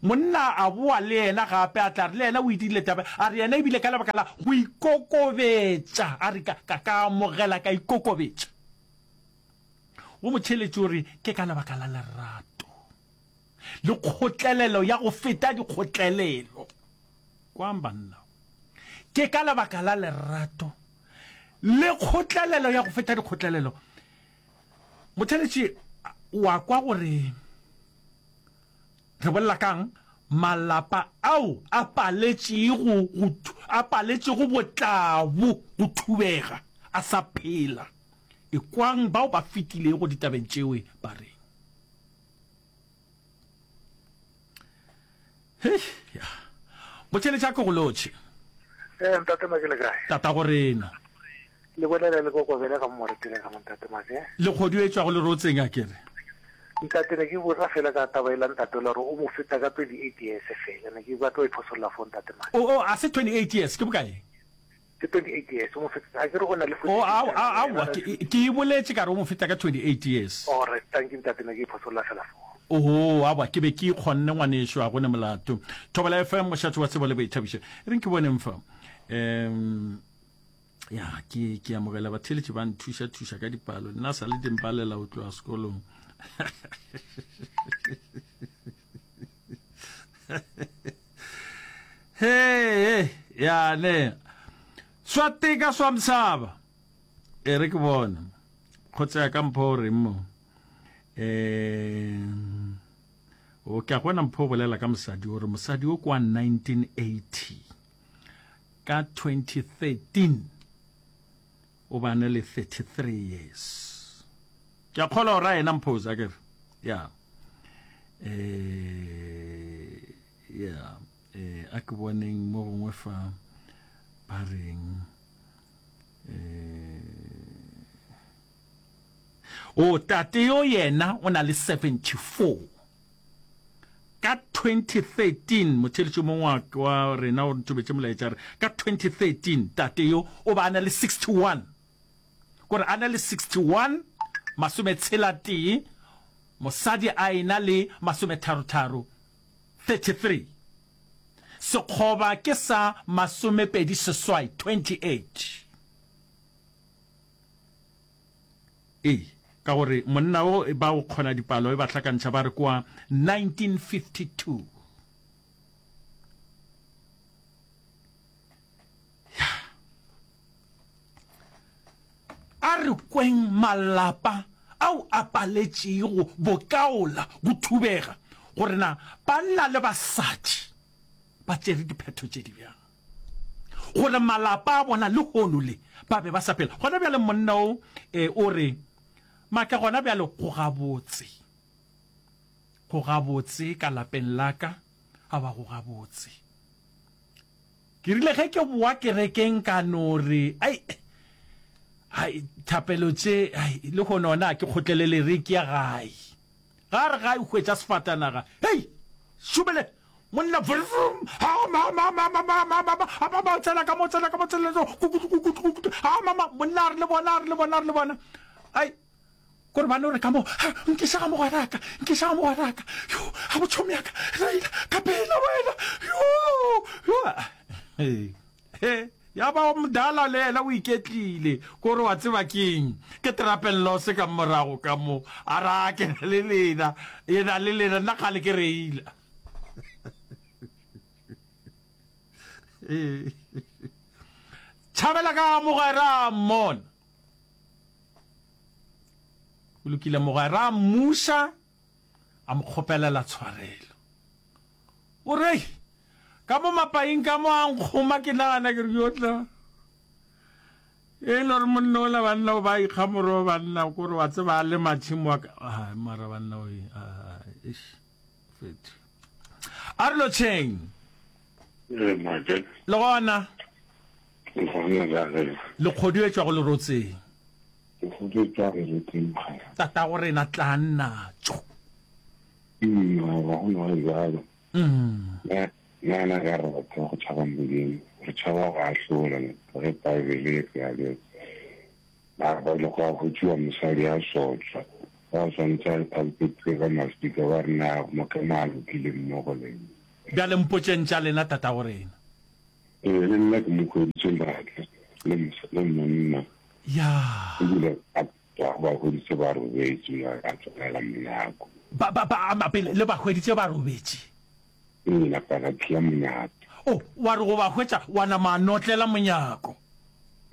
Monna a boa le yena gape, a tla re le yena o itirile taba, a re yena ebile ka lebaka la go ikokobetša, a re ka, ka, ka amogela ka ikokobetša. Go motheeletši o re ke ka lebaka la lerato le kgotlelelo ya go feta dikgotlelelo. Kwang banna, ke ka lebaka la lerato le kgotlelelo ya go feta dikgotlelelo. Motheeletši wa kwa gore re bolela kang malapa ao a paletšego go a paletšego botlabo go thubega a sa phela. Ekwang bao ba fetilego ditabeng tšewe ba reng. Hei, ya. Botheletša ke go lotšhe. Eh, ntate Make le kae? Tata go rena. Le bolela le kokobele ga moretele ga ntate Make. Le kgodu e tšwago lerotseng a kere. Ntate ne ke botsa fela ka taba ela ntate la gore o mo feta ka 28 years fela ne ke batla go iphosolla fo ntate Make. O o a se 28 years ke bokae? Ke 28 years, o mo feta, a ke re o na le 46. Oh, aowa, aowa, ke, ke e boletše ka re o mo feta ka 28 years. Alright, thank you ntate, ne ke iphosolla fela foo. Oho, aowa, ke be ke ikgonne ngwanešu, a go ne molato. Thobela FM, mošate wa tsebo le boithabišo. E reng ke boneng fa. Um, ya, ke, ke amogela batheeletši ba nthuša thuša ka dipalo. Nna sa le di mpalela go tloga sekolong. He, ya ne. Swa teka swa msaba. E re ke bone. Kgotsa ya ka mpho o reng mo. Eh o ke a gona mpho o bolela ka mosadi o re mosadi o kwa 1980 ka 2013 o bane le 33 years. Ke a kgolwa o ra yena mpho a kere. Ya. Eh ya eh a ke boneng mo gongwe fa ba reng eh o tate yo yena o na le 74 ka 2013 motheletši mongwe wa rena o ntobetše molaetša re ka 2013 tate yo o ba a na le 61 kore a na le 61 masometshela tee mosadi a ena le masometharotharo 33. Sekgoba ke sa masomepedi-seswai, 28. Ee, ka gore monna o ba go kgona dipalo e ba hlakantšha ba re kwa 1952. Ya. A re kweng malapa ao a paletšego bokaola go thubega gore na banna le basadi ba tšere diphetho tše di bjang gore malapa a bona lehono le ba be ba sa phela. Gona bjale monna o e, o re, Make gona bjale go gabotse. Go gabotse ka lapeng la ka, aowa go gabotse. Ke rile ge ke boa kerekeng ka no re, ai, ai, thapelo tše, ai, lehono ona ke kgotlelele re ke ya gae. Ga re gae hwetša sefatanaga, hei, šobele, monna, vrum, ha, ma, ma, ma, ma, ma, ma, ma, ma, a ma, ma, tsena ka mo, tsena ka mo, tsena, kukutu, kukutu, kukutu, ha, ma, ma, monna a re le bona, a re le bona, a re le bona, ai. Kore ba no re ka mo, Ha, nkiša ga mogweraka, nkiša ga mogweraka. Yo, ga botšhomi ya ka, reila, ka pela wena. Yo, yo. He, he, ya ba mdala le yena o iketlile. Kore wa tseba keng? Ke trapello se ka morago ka mo. A ra ke na le lena, yena le lena, nna kgale ke reila. Tšhabela ka mogwera mmona. O lokile mogwera a mmuša a mo kgopelela tshwarelo. O re ka mo mapaing ka mo a nkgoma ke nagana ke re yo tla. E le gore monna ola banna o ba ikga moro banna kore wa tseba a le matšhimo wa ka ai mara banna o eish fetho. A re lotšheng. Ee, Make. Le gona. Le gona la re. Le kgodu e tšwago lerotseng. Ke go tšwa kerekeng mokgalabje. Tatago rena tlang natšo. Aowa, go no ba bjalo. Na, na, na ka re batho ba go tšhaba Modimo, re tšhaba go ahlola, ge Paebele e re bjalo. Ba ba ile gwa hwetšiwa mosadi a sotlwa, ba swanetše a bopetšwe ka maswika, ba re, Na mo ke mo a lokile mmogo le nna? Bjale mpotšeng tša lena, tatago rena. Ee, le nna ke mo hweditše matla le, le monna. Ya. Ebile a ba ba hweditše ba robetše, a tswalela monyako. Ba, ba, ba, ama pele, le ba hweditše ba robetše? Ee, napa ka khia monyako. Oh, wa re go ba hwetša, wa nama a notlela monyako.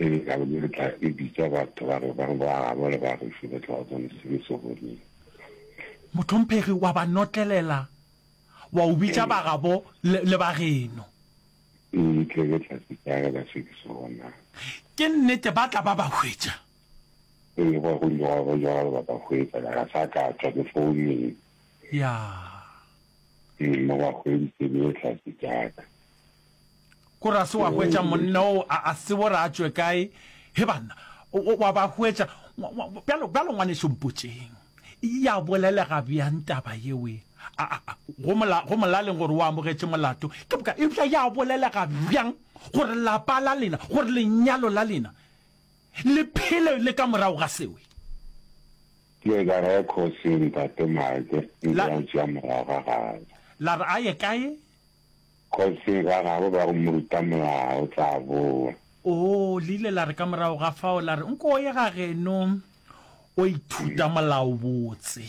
Ee, ka be ke tla ke bitša batho ba re ba re ba gabo le ba gešo ba tla ba bone se ke se boneng. Mohlomphegi, wa ba notlelela, wa o bitša ba gabo le, le ba geno. Ee, tle ke tla se tšagela se ke se bonang. Ke nnete, ba tla ba ba hwetša. Ee, gwa go ile gwa ba bjalo ba ba hwetša, ka ga sa ka tšwa ke founeng. Ya. Ee, mo ba hweditše ke le tlase tša ka. Kore a se wa hwetša monna o a, a tsebo gore a tšwe kae. He banna, o, o, wa ba hwetša. Bjalo, bjalo ngwanešu mpotšeng, ya bolelega bjang taba yewe? A, a, a, go mola, go molaleng gore o amogetše molato. Ke boka, eupša ya bolelega bjang gore lapa la lena, gore lenyalo la lena le phele le ka morago ga sewe? Ke ka re khosi ntate Mike nke a tšea morago ga gagwe. La re a ye kae? Khosi ga gabo ba go mo ruta molao o tla boa. Oo, le ile la re ka morago ga fao la re nko o ye ga geno o ithuta molao botse.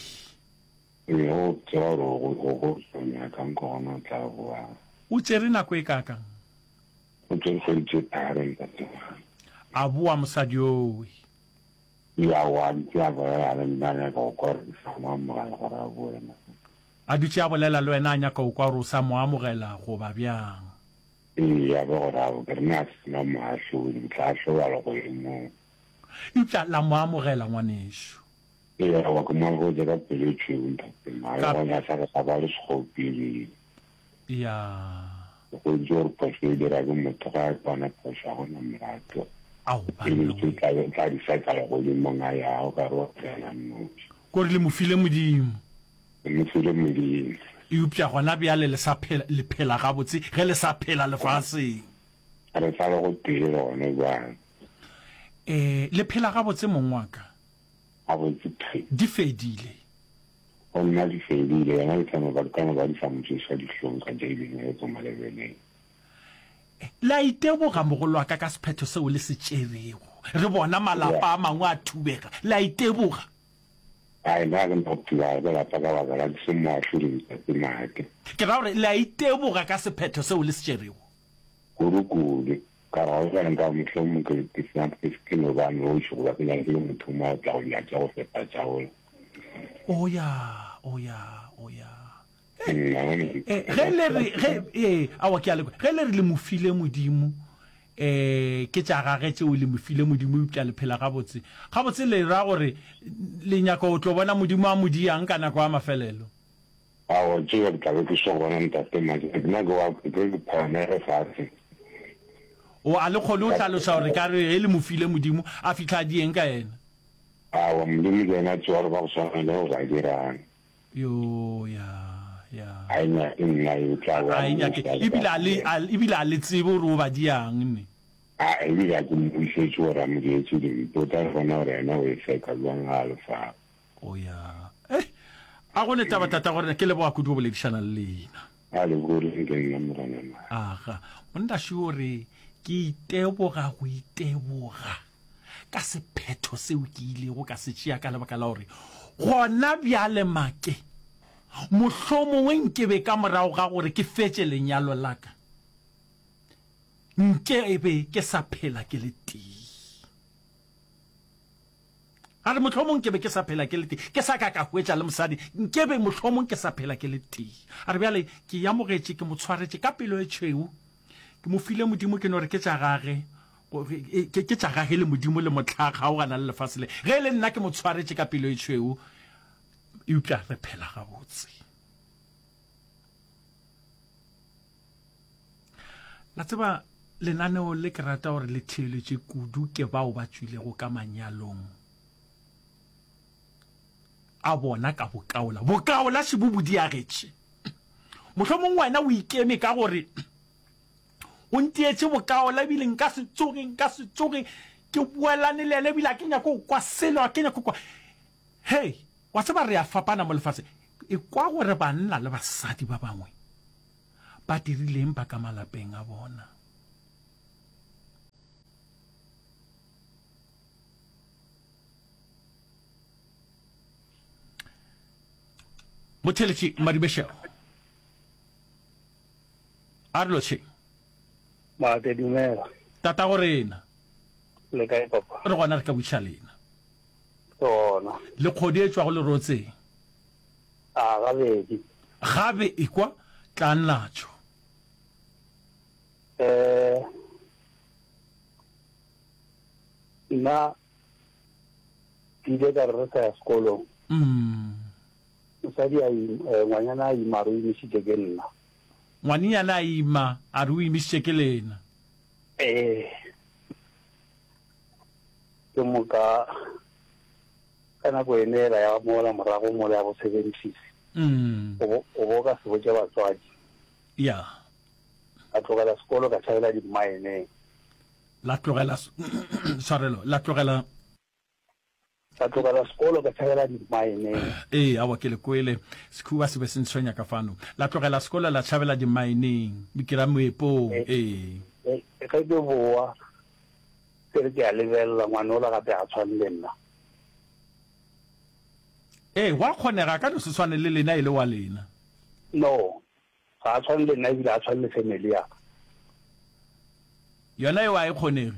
Ee, o tseba gore o go go nyaka nko gona o tla boa. O tšere nako e kaakang? O tšere kgwedi tše tharo ntate Mike. A boa mosadi owe. Ya wa ntse a bolela le nna a nyaka go kwa gore ke sa mo amogela gore a boe na. A dutše a bolela le wena a nyaka go kwa gore o sa mo amogela goba bjang. Ee, ya be gore a ke re nna ga ke na moahlodi, ke tla ahlolwa legodimong. Eupša la mo amogela ngwanešu. Ee, aowa ke mo amogetše ka pelo e tšhweu ntate Mma, le gona sa re ga ba le sekgopi ebile. Ya. Ke hweditše gore phošo e dira ke motho ge a kwana phošo ga gona molato. Ao E banna tse we. tla be tla di seka legodimong a yago ka re wa tsena nnoši. Kore le mo file Modimo. Le mo file Modimo. Eupša gona bjale le sa phela, le phela gabotse ge le sa phela lefaseng. Re sa le gotee le gona bjale. Ee, le phela gabotse mong wa ka. Gabotse phe. Di fedile. Go nna di fedile, yena ke tla no ba, ka no ba di sa mo tsoša dihlong ka jaileng ge ko malebeleng. Le a iteboga mogolwaka ka sephetho seo le se tšerego. Re bona malapa a mangwe a thubega. Le a iteboga. Ai, nna ga ke na go thubega ke lapa ka baka la ke se moahlodi Ntate Make. Ke ra gore le a iteboga ka sephetho seo le se tšerego. Kudu-kudu. Ka re, Ga bjale nka mohlomong ke, ke se, ke, ke no ba noši goba ke nyakile motho mo a tla go nyatša go feta tša ola. O ya, o ya, o ya. Nna, gone ke- Eh, ge le re, ge, ee, aowa ke a le kwa. Ge le re le mo file Modimo, eh, ke tša gage tšeo le mo file Modimo, eupša le phela gabotse. Gabotse le ra gore le nyaka go tlo bona Modimo a mo diang ka nako ya mafelelo. Aowa, tšeo ke tla be ke so bona Ntate Mike. Nna ke wa, ke ke phagamege fase. O, a le kgone go hlaloša gore ka re ge le mo file Modimo, a fihla a dieng ka yena? Aowa, Modimo ke yena a tseba gore ba go swana le go ba dirang. Yo, ya, ya. A e nyake nna, e tla ba A e nyake, mmuša ebile a le, a, ebile a le tsebe gore o ba diang, ne. A, ebile a ke mmušetše gore a mo dietše dimpe, o tla bona gore yena o e feka bjang ga a le fao. O ya. Eh, a go ne taba tata gore ke leboga kudu go boledišana le lena. A le boleng ke nna morena ma. Aga, monna šo re ke iteboga go iteboga ka sephetho seo ke ilego ka se tšea ka lebaka la gore gona bjale make mohlomongwe nkebe ka morago ga gore ke fetše lenyalo la ka nkebe ke sa phela ke le tee. A re, Mohlomong ke be ke sa phela ke le tee, ke sa ka ka hwetša le mosadi, nke be mohlomong ke sa phela ke le tee. A re, Bjale ke e amogetše, ke mo tshwaretše ka pelo e tšhweu, ke mo file Modimo, ke no re ke tša gage, ke, ke tša gage le Modimo le mohla a kgaogana le lefase le. Ge e le nna ke mo tshwaretše ka pelo e tšhweu, eupša re phela gabotse. La tseba, lenaneo le ke rata gore le theeletše kudu ke bao ba tšwilego ka manyalong. a bona ka bokaola. Bokaola šebo bo diagetše. Mohlomong wena o ikeme ka gore o ntietše bokaola ebile nka se tsoge, nka se tsoge ke boelane le yena ebile a ke nyake go kwa selo, a ke nyake go kwa. Hei, wa tseba re a fapana mo lefaseng. Ekwa gore banna le basadi ba bangwe ba dirileng ba ka malapeng a bona. Motheletši Madibešego a re lotšheng. Maake dumela. Tatago rena. Le kae papa? Re gona re ka buša lena. Ke gona. Le kgodi e tšwago lerotseng. A gabedi. Gabe ekwa tlang natšo. Eh nna ke ile ka re re sa ya sekolong. Mm. Mosadi a ima, eh, ngwanyana a ima a re o imišitše ke nna. Ngwanenyana a ima a re o imišitše ke lena. Ee. Ke moka ka nako ene ela ya mola morago mola ya bo seventies. Mm. O bo o bo ka se botše batswadi. Ya. Ka tlogela sekolo ka tšhabela dimmaeneng. La tlogela tshwarelo, la tlogela Ka tlogela sekolo ka tšhabela dimmaeneng. Ee, aowa ke le kwele. Sekhuba se be se ntshwenya ka fano. La tlogela sekolo la tšhabela dimmaeneng, ke ra moepong. Ee. Ge ke boa ke re ke a lebelela ngwanola gape ga tshwane le nna. Ee, gwa kgonega a ka no se tshwane le lena e le wa lena. No, ga a tshwane le nna ebile ga a tshwane le family ya ka. Yona eo a e kgonege.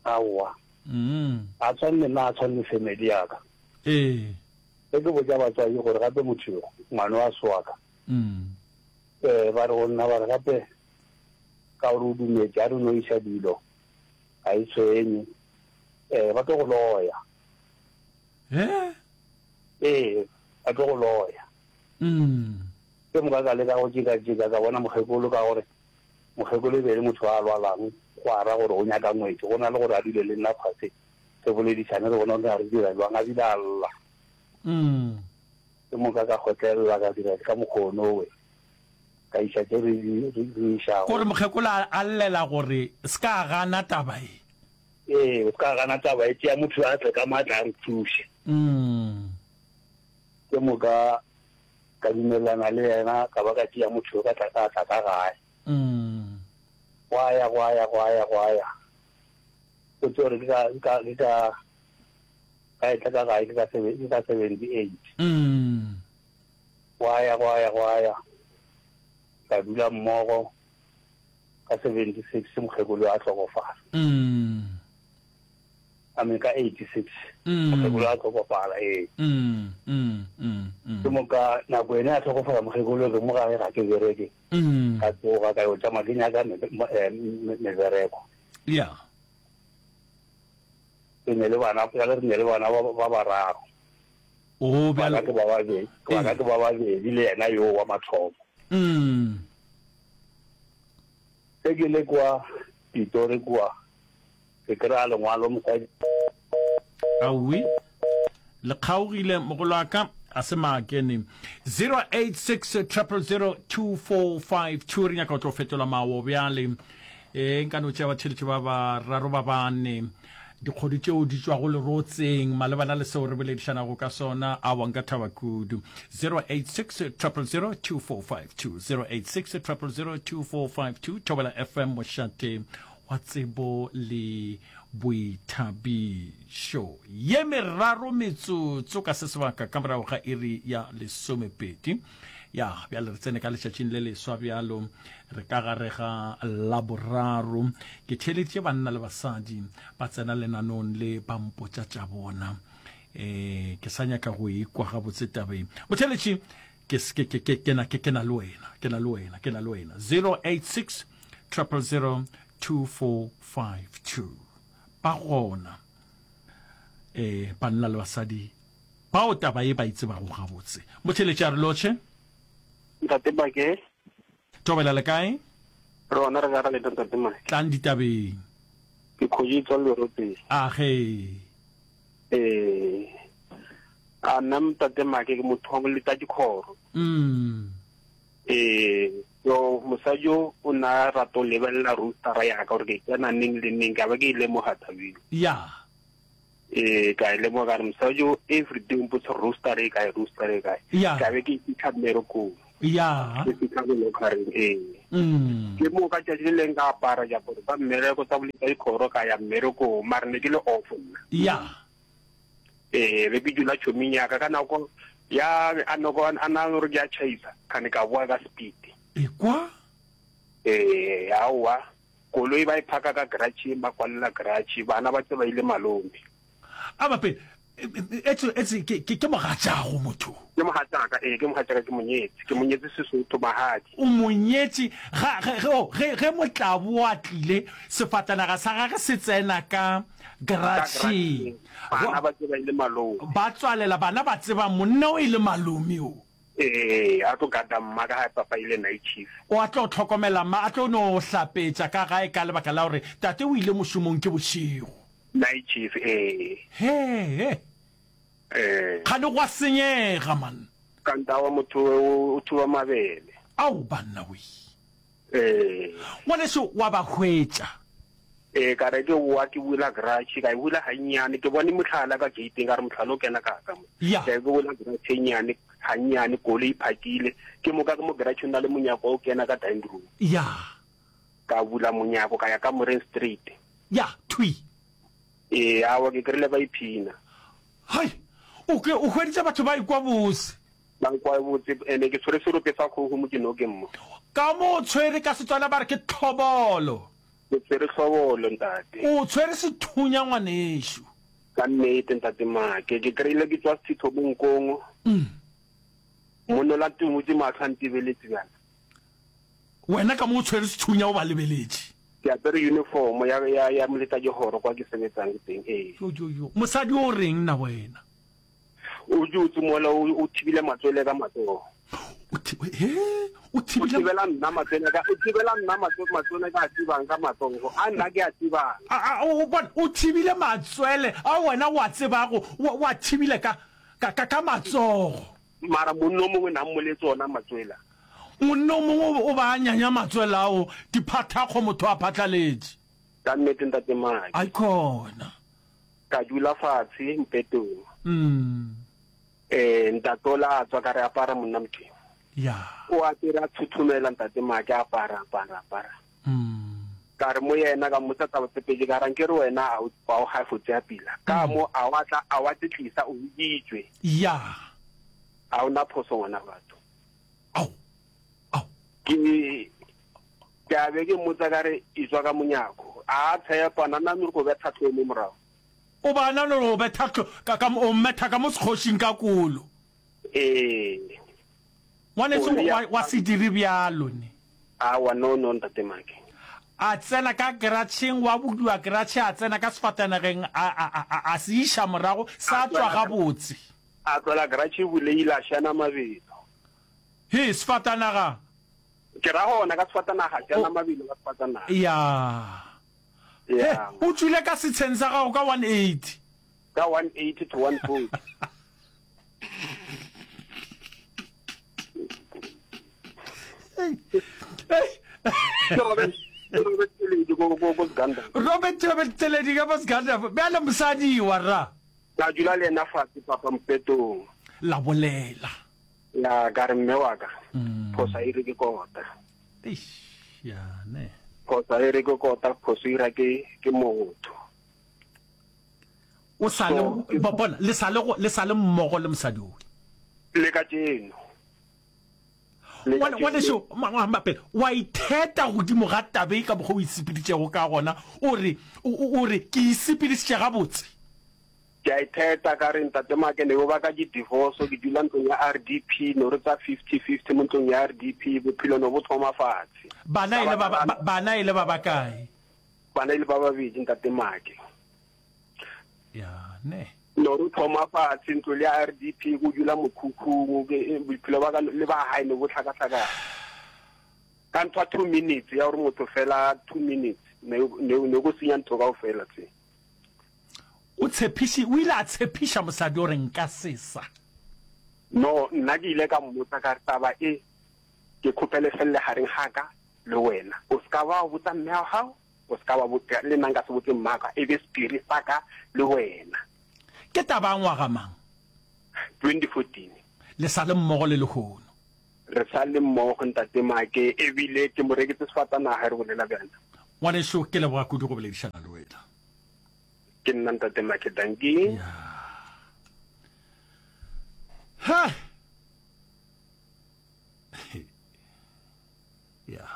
Aowa. Mm. Ga a tshwane le nna, ga a tshwane le family ya ka. Ee. Ge ke botša batswadi gore gape motho yo, ngwana wa se wa ka. Mm. Eh, ba re go nna ba re gape ka gore o dumetše a re no iša dilo ga e tshwenye. Eh, ba tlo go loya. Eh? Ee, ba tlo go loya. Mm. Ke moka ka leka go jeka-jeka ka bona mokgekolo ka gore mokgekolo e be e le motho a lwalang go ara gore o nyaka ngwetši go na le gore a dule le nna fase re boledišane re bona gore re dira jwang a bile a lla. Mm. Ke moka ka kgotlelela ka dira ka mokgono we ka iša tše re di re išago. Gore mokgekolo a llela gore se ka gana taba e. Ee, o se ka gana taba e tšea motho a tle ka maatla a re thuše. Mm. Ke moka ka dumelelana le yena ka ba ka tšea motho yo ka tla ka tla ka gae. Mm. Gwa ya gwa ya gwa ya gwa ya. Go tšeo gore ke ka ke ka ke ka ka etla ka gae ke ka ke ka 78. Mm. Gwa ya gwa ya gwa ya. Ka dula mmogo ka 76 mokgekolo a hlokofala. Mm. I mean ka 86 mm. mokgekolo a hlokofala ee. Mm, mm, mm, mm. Ke moka nako ene a hlokofala mokgekolo ke mo gae ga ke bereke. Mm. Ka tsoga ka yo tšama ke nyaka eh, mebereko. Yeah. Ke ne le bana, ka re ne le bana ba bararo. Oh, bjalo. Bana ke ba babedi, bana ke ba babedi le yena yo wa mathomo. Mm. Ge ke le kwa Pitori kwa, ke kry-a lengwalo mosadi. Aowi, le kgaogile mogolo wa ka, a se maakene. 086 000 2452 re nyaka go tlo fetola mawo bjale. E nka no tšea batheletši ba bararo ba bane dikgodu tšeo di tšwago lerotseng malebana le seo re boledišanago ka sona. Awa nka thaba kudu. 086 000 2452 086 000 2452 Thobela FM mošate wa tsebo le boithabišo. Ye meraro metsotso ka se sebaka ka morago ga iri ya lesomepedi. Ya, bjale re tsene ka letšatšing le leswa bjalo, re ka gare ga Laboraro. Ke theeleditše banna le basadi ba tsena lenanong le ba mpotša tša bona. E, ke sa nyaka go ikwa gabotse tabeng. Motheeletši, ke, ke, ke, ke, ke na, ke, ke na le wena, ke na le wena, ke na le wena. 086 000 2452. Ba gona, e, banna le basadi Bao taba ye ba e tsebago gabotse. Motheeletši a re lotšhe. Ntate Make. Thobela le kae? Re gona re ka ra lena Ntate Make. Tlang ditabeng. Ke kgoši e tswa Lerotseng. Age. Ee. A nna ntate Make ke motho wa boleta dikhoro. Mm. Ee, so mosadi yo o na rata go lebelela roostera ya ka gore ke tsena neng le neng ka ba ke e lemoga tabeng. Ya. Ee, ka e lemoga ka re mosadi yo every day o mpotsa roaster e kae, roaster e kae. Ya. Ka be ke e fitlha mmerekong. Ya. Ke fitlha ko locareng ee. Mm. Ke moo ka tšatši le leng ka apara diaparo tsa mmereko tsa boleta dikhoro ka ya mmerekong mare ne ke le off nna. Ya. Ee, be ke dula tšhoming ya ka ka nako ya a noko a na gore ke a tšhaisa kgane ka boa ka speed. Ekwa? Ee, aowa koloi ba e phaka ka garage ba kwalela garage bana ba tse ba ile malome. A bape etse etse ke ke ke mogatšago motho. Ke mogatšaka ee ke mogatšaka ke monyetse ke monyetse Sesotho mahadi. O monyetše ga ge ge oh, ge ge motlabo a tlile sefatanaga sa gage se tsena ka Garageng. Bana ba tseba e le malome. Ba tswalela, bana ba tseba monna o e le malome o. Ee, a tlo gada mma ka gae papa e le night chief. O a tlo hlokomela mma, a tlo no hlapetša ka gae ka lebaka la gore tate o ile mošomong ke bošego. Night chief, ee. Hee. Ee. Kgane gwa senyega man. Kanta wa motho o thuba mabele. Ao banna wee. Ee. Ngwaneso wa ba hwetša. Ee, ka re ke boa ke bula garage, ka e bula gannyane, ke bone mohlala ka gate-eng, ka re mohlala o kena ka ka mo. Ya. Ka ke bula garage e nnyane, gannyane, koloi e phakile, ke moka ke mo garage o na le monyako wa go kena ka dining room. Ya. Ka bula monyako ka ya kamoreng straight. Ya, thwi. Ee, aowa ke kry-ile ba iphina. Hai, o ke o hweditše batho ba ikwa bose. Ba nkwa botse, ene ke tshwere serope sa kgogo mo ke nokeng mo. Ka mo o tshwere ka Setswana ba re ke tlhobolo. Ke tshwere tlhobolo ntate. O tshwere sethunya ngwanešu. Ka nnete ntate Make, ke kry-ile ke tswa sethitho mo nkong. Monola tumutse mahlo a ntebeletse bjana. Wena ka mo o tshwere sethunya o ba lebeletše. Ke apere uniform ya ya ya moletladikgoro kwa ke sebetsang teng, ee. Jo jo jo, mosadi o reng na wena? O dutse mola o, o thibile matswele ka matsogo. O thi, he, o thibile. O thibela nna matswele ka, o thibela nna matso, matswele ka a tsebang ka matsogo. A nna ke a tsebang. A, a, o bona, o thibile matswele a wena o a tsebago, o, o a thibile ka, ka, ka, ka matsogo. Mara monna o mongwe na mmoletse ona matswele a. Monna o mongwe o, o ba a nyanya matswele ao, diphathakgo motho a phatlaletše. Ka nnete ntate Maki. Aikhona. Ka dula fatshe mpetong. Mm. Eh, ntate ola a tswa ka re apara monna Modimo. Ya. O apere a thuthumela ntate Make apara apara apara. Mm. Ka re mo yena ka mmotsa taba tse pedi ka ra nke re wena a o a o ga fotse ya pila. Ka mo a wa tla a wa tsetlisa o biditswe. Ya. A o na phoso ngwana batho. Ao. Ao. Ke ke a be ke mmotsa ka re e tswa ka monyako. A tshepa na na re go betha tlho mo morago. O ba na le go betha tlho ka ka o mmetha ka mo sekgošing ka kolo. Ee. Ngwaneso wa, wa se dire bjalo ne. Awa no no ntate Make. A tsena ka keratšheng, wa budiwa keratšhe, a tsena ka sefatanageng, a, a, a, a, a se iša morago, sa tšwa gabotse. A tlola keratšhe e bulegile, a šana mabelo. He, sefatanaga! Ke ra gona ka sefatanaga, šana mabelo ka sefatanaga. Ya. He, o tšwile ka setsheng sa gago ka 180. Ka 180 to 140. Robert Robert Tseledi ka Bosganda bjale mosadi wa ra. Ka dula le yena fatshe papa mpetong. La bolela. Ya ka re mme wa ka phosa e re ke kota. Eish ya ne. Phosa e re ke kota phoso ira ke ke motho. O sa le bona le sa le le sa le mmogo le mosadi o. Le ka tšeno. Ngwaneso mapele wa itheta godimo ga tabe ka mokgwa o isepeditšego ka gona o re o re ke isepedisitše gabotse. Ke a itheta ka re ntate Make ne ba ka ke divorce ke dula ntlong ya RDP no re tsa 50 50 mo ntlong ya RDP bophelo no bo thoma fatshe. Bana e le ba bana e le ba bakae? Bana e le ba babedi ntate Make. Ya ne. No re thoma fatshe ntlo le ya RDP go dula mokhukhung bophelo ba ka le ba hae ne bo tlhakatlhakana. Ka ntho 2 minutes ya gore motho fela 2 minutes ne ne go senya ntho kaofela tse. O tshepiši, o ile a tshepiša mosadi gore nka se sa. No, nna ke ile ka mmotsa ka re, Taba e ke kgopele felle gareng ga ka le wena. O se ka wa botsa mme wa gago, o se ka wa botsa, le nna nka se botse mmaka, e be sephiri sa ka le wena. Ke taba ya ngwaga mang? 2014. Le sa le mmogo le lehono? Re sa le mmogo, Ntate Make, ebile ke mo reketse sefatanaga ge re bolela bjana. Ngwaneso, ke leboga kudu go boledišana le wena. Ke nna Ntate Make, dankie. Ya. Ha! Ya.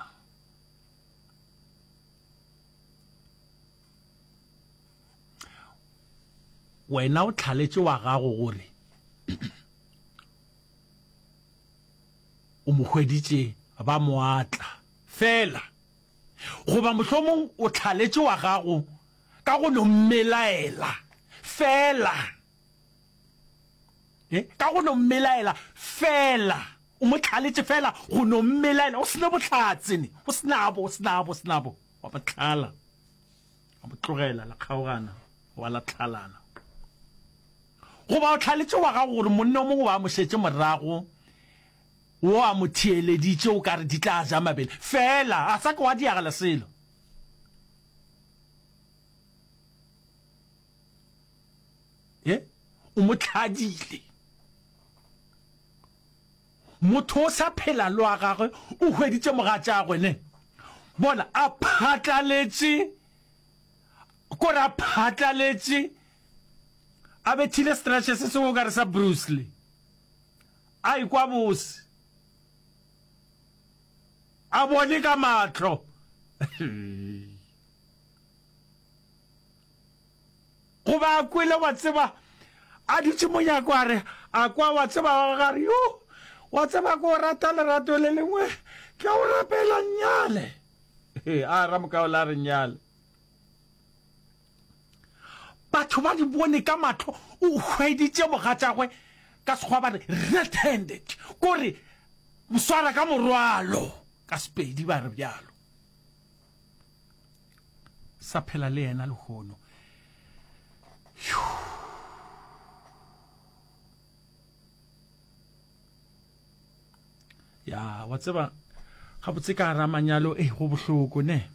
Wena o tlhaletše wa gago gore o mo hweditše ba mo atla fela, goba mohlomong o tlhaletše wa gago ka go no mmelaela fela, e, ka go no mmelaela fela, o mo tlhaletše fela go no mmelaela, o sene bohlatse, ne, o senabo, o senabo, o senabo, wa mo tlhala, wa mo tlogela, la kgaogana, wa la tlhalana. Goba o tlhaletše wa gago gore monna o mongwe wa mo šetše morago, wo a mo theeleditše o ka re di tla ja mabele, fela a sa ke wa diagela selo. Ye, o mo tlhadile. Motho o sa phela le wa gagwe, o hweditše mogatšagwe, ne? Bona, a phatlaletše, kore a phatlaletše, a bethile stretch se sengwe o ka re sa Bruce Lee. A ikwa bose. A bone ka mahlo. Goba a kwele, wa tseba, a dutše monyako a re, a kwa, wa tseba, wa gare, yo, wa tseba, ke o rata lerato le lengwe, ke a o rapela, nnyale. A ramokaola a re nnyale. Batho ba di bone ka mahlo, o hweditše mogatšagwe, ka Sekgowa ba re red handed, kore swara ka morwalo, ka Sepedi ba re bjalo. Sa phela le yena lehono. Ya, wa tseba, gabotse ka gara manyalo, eh, go bohloko, ne?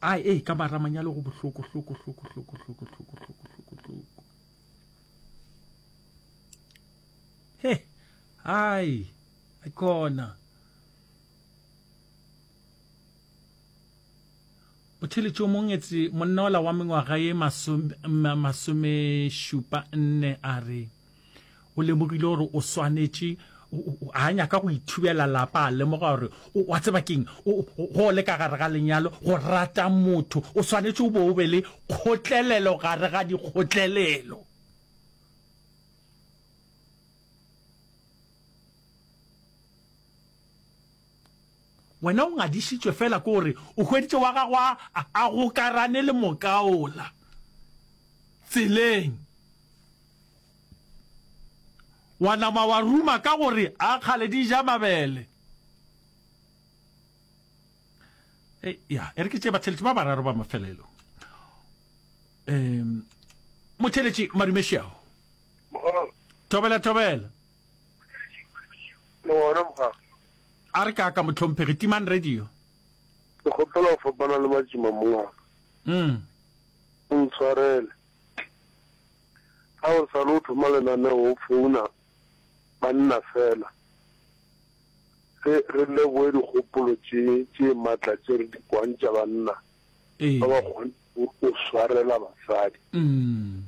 Ai, eh, ka mara manyalo go bohloko, hloko, hloko, hloko, hloko, hloko, hloko, hloko, hloko. He, ai, ai khona. Motheeletši o mongwe etse monna ola wa mengwaga ye masomešupa nne a re o lemogile gore o swanetše a nyaka go ithubela lapa a lemoga gore wa tseba keng go le ka gare ga lenyalo go rata motho o swanetše o bo o be le kgotlelelo gare ga dikgotlelelo. Wena o ngadišitšwe feela ke gore o hweditše wa gago a, a gokarane le mokaola tseleng. Wa nama wa ruma ka gore a kgale di ja mabele. E, ya, e re ke tše batheletši ba bararo ba mafelelo. Um, motheletši Madumešiago. Thobela, thobela. Le gona mogare. A re kaka mohlomphegi, timang radio. Ke kgopela go fapana le matšima mongaka. Mm. O ntshwarele. Ga o sa le o thoma lenaneo o founa banna fela. Re re leboe dikgopolo tše tše matla tše re di kwang tša banna ba ba kgone go swarela basadi. Mm.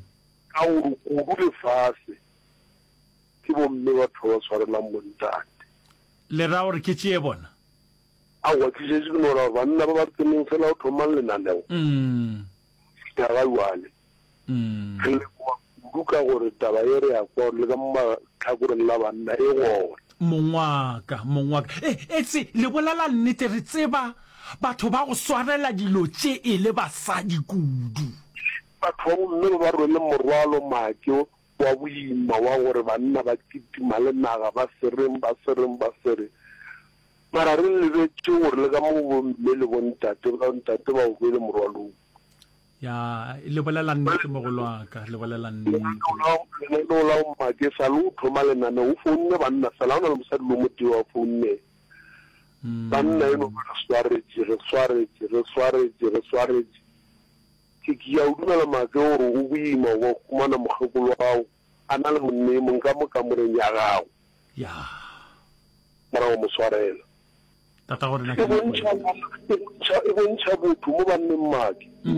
Ka gore kudu lefase Ke bomme batho ba ba swarelang bontate. Le ra gore ke tšee bona? Aowa, ke šetše ke no ra gore banna ba ba tseneng fela go thomang lenaneo fihla ga jwale. Re leboga kudu ka gore taba ye re ya kwa gore le ka mo mahlakoreng la banna e gona. Mongwaka, mongwaka. E, etse, le bolela nnete, re tseba batho ba go swarela dilo tše e le basadi kudu. Batho ba bomme ba ba rwele morwalo make wa boima wa gore banna ba kitima le naga ba sereng, ba sereng, ba sereng. Mara re lebetše gore le ka mo bomme le bontate, bontate ba o rwele morwalo wo. Ya, le bolela nnete mogolo wa ka, le bolela nnete. Lenaneo la go Make sa le o thoma lenaneo o founne banna fela, ga o na le mosadi le o motee wa founne. Banna e no ba re swaretše, re swaretše, re swaretše, re swaretše. Ke ke a o dumela Make gore go boima go humana mokgekolo wa gago a na le monna e mong ka mo kamoreng ya gago. Ya. Mara wa mo swarela. Tatago rena ke E bontšha, e bontšha, e bontšha botho mo banneng Make. E.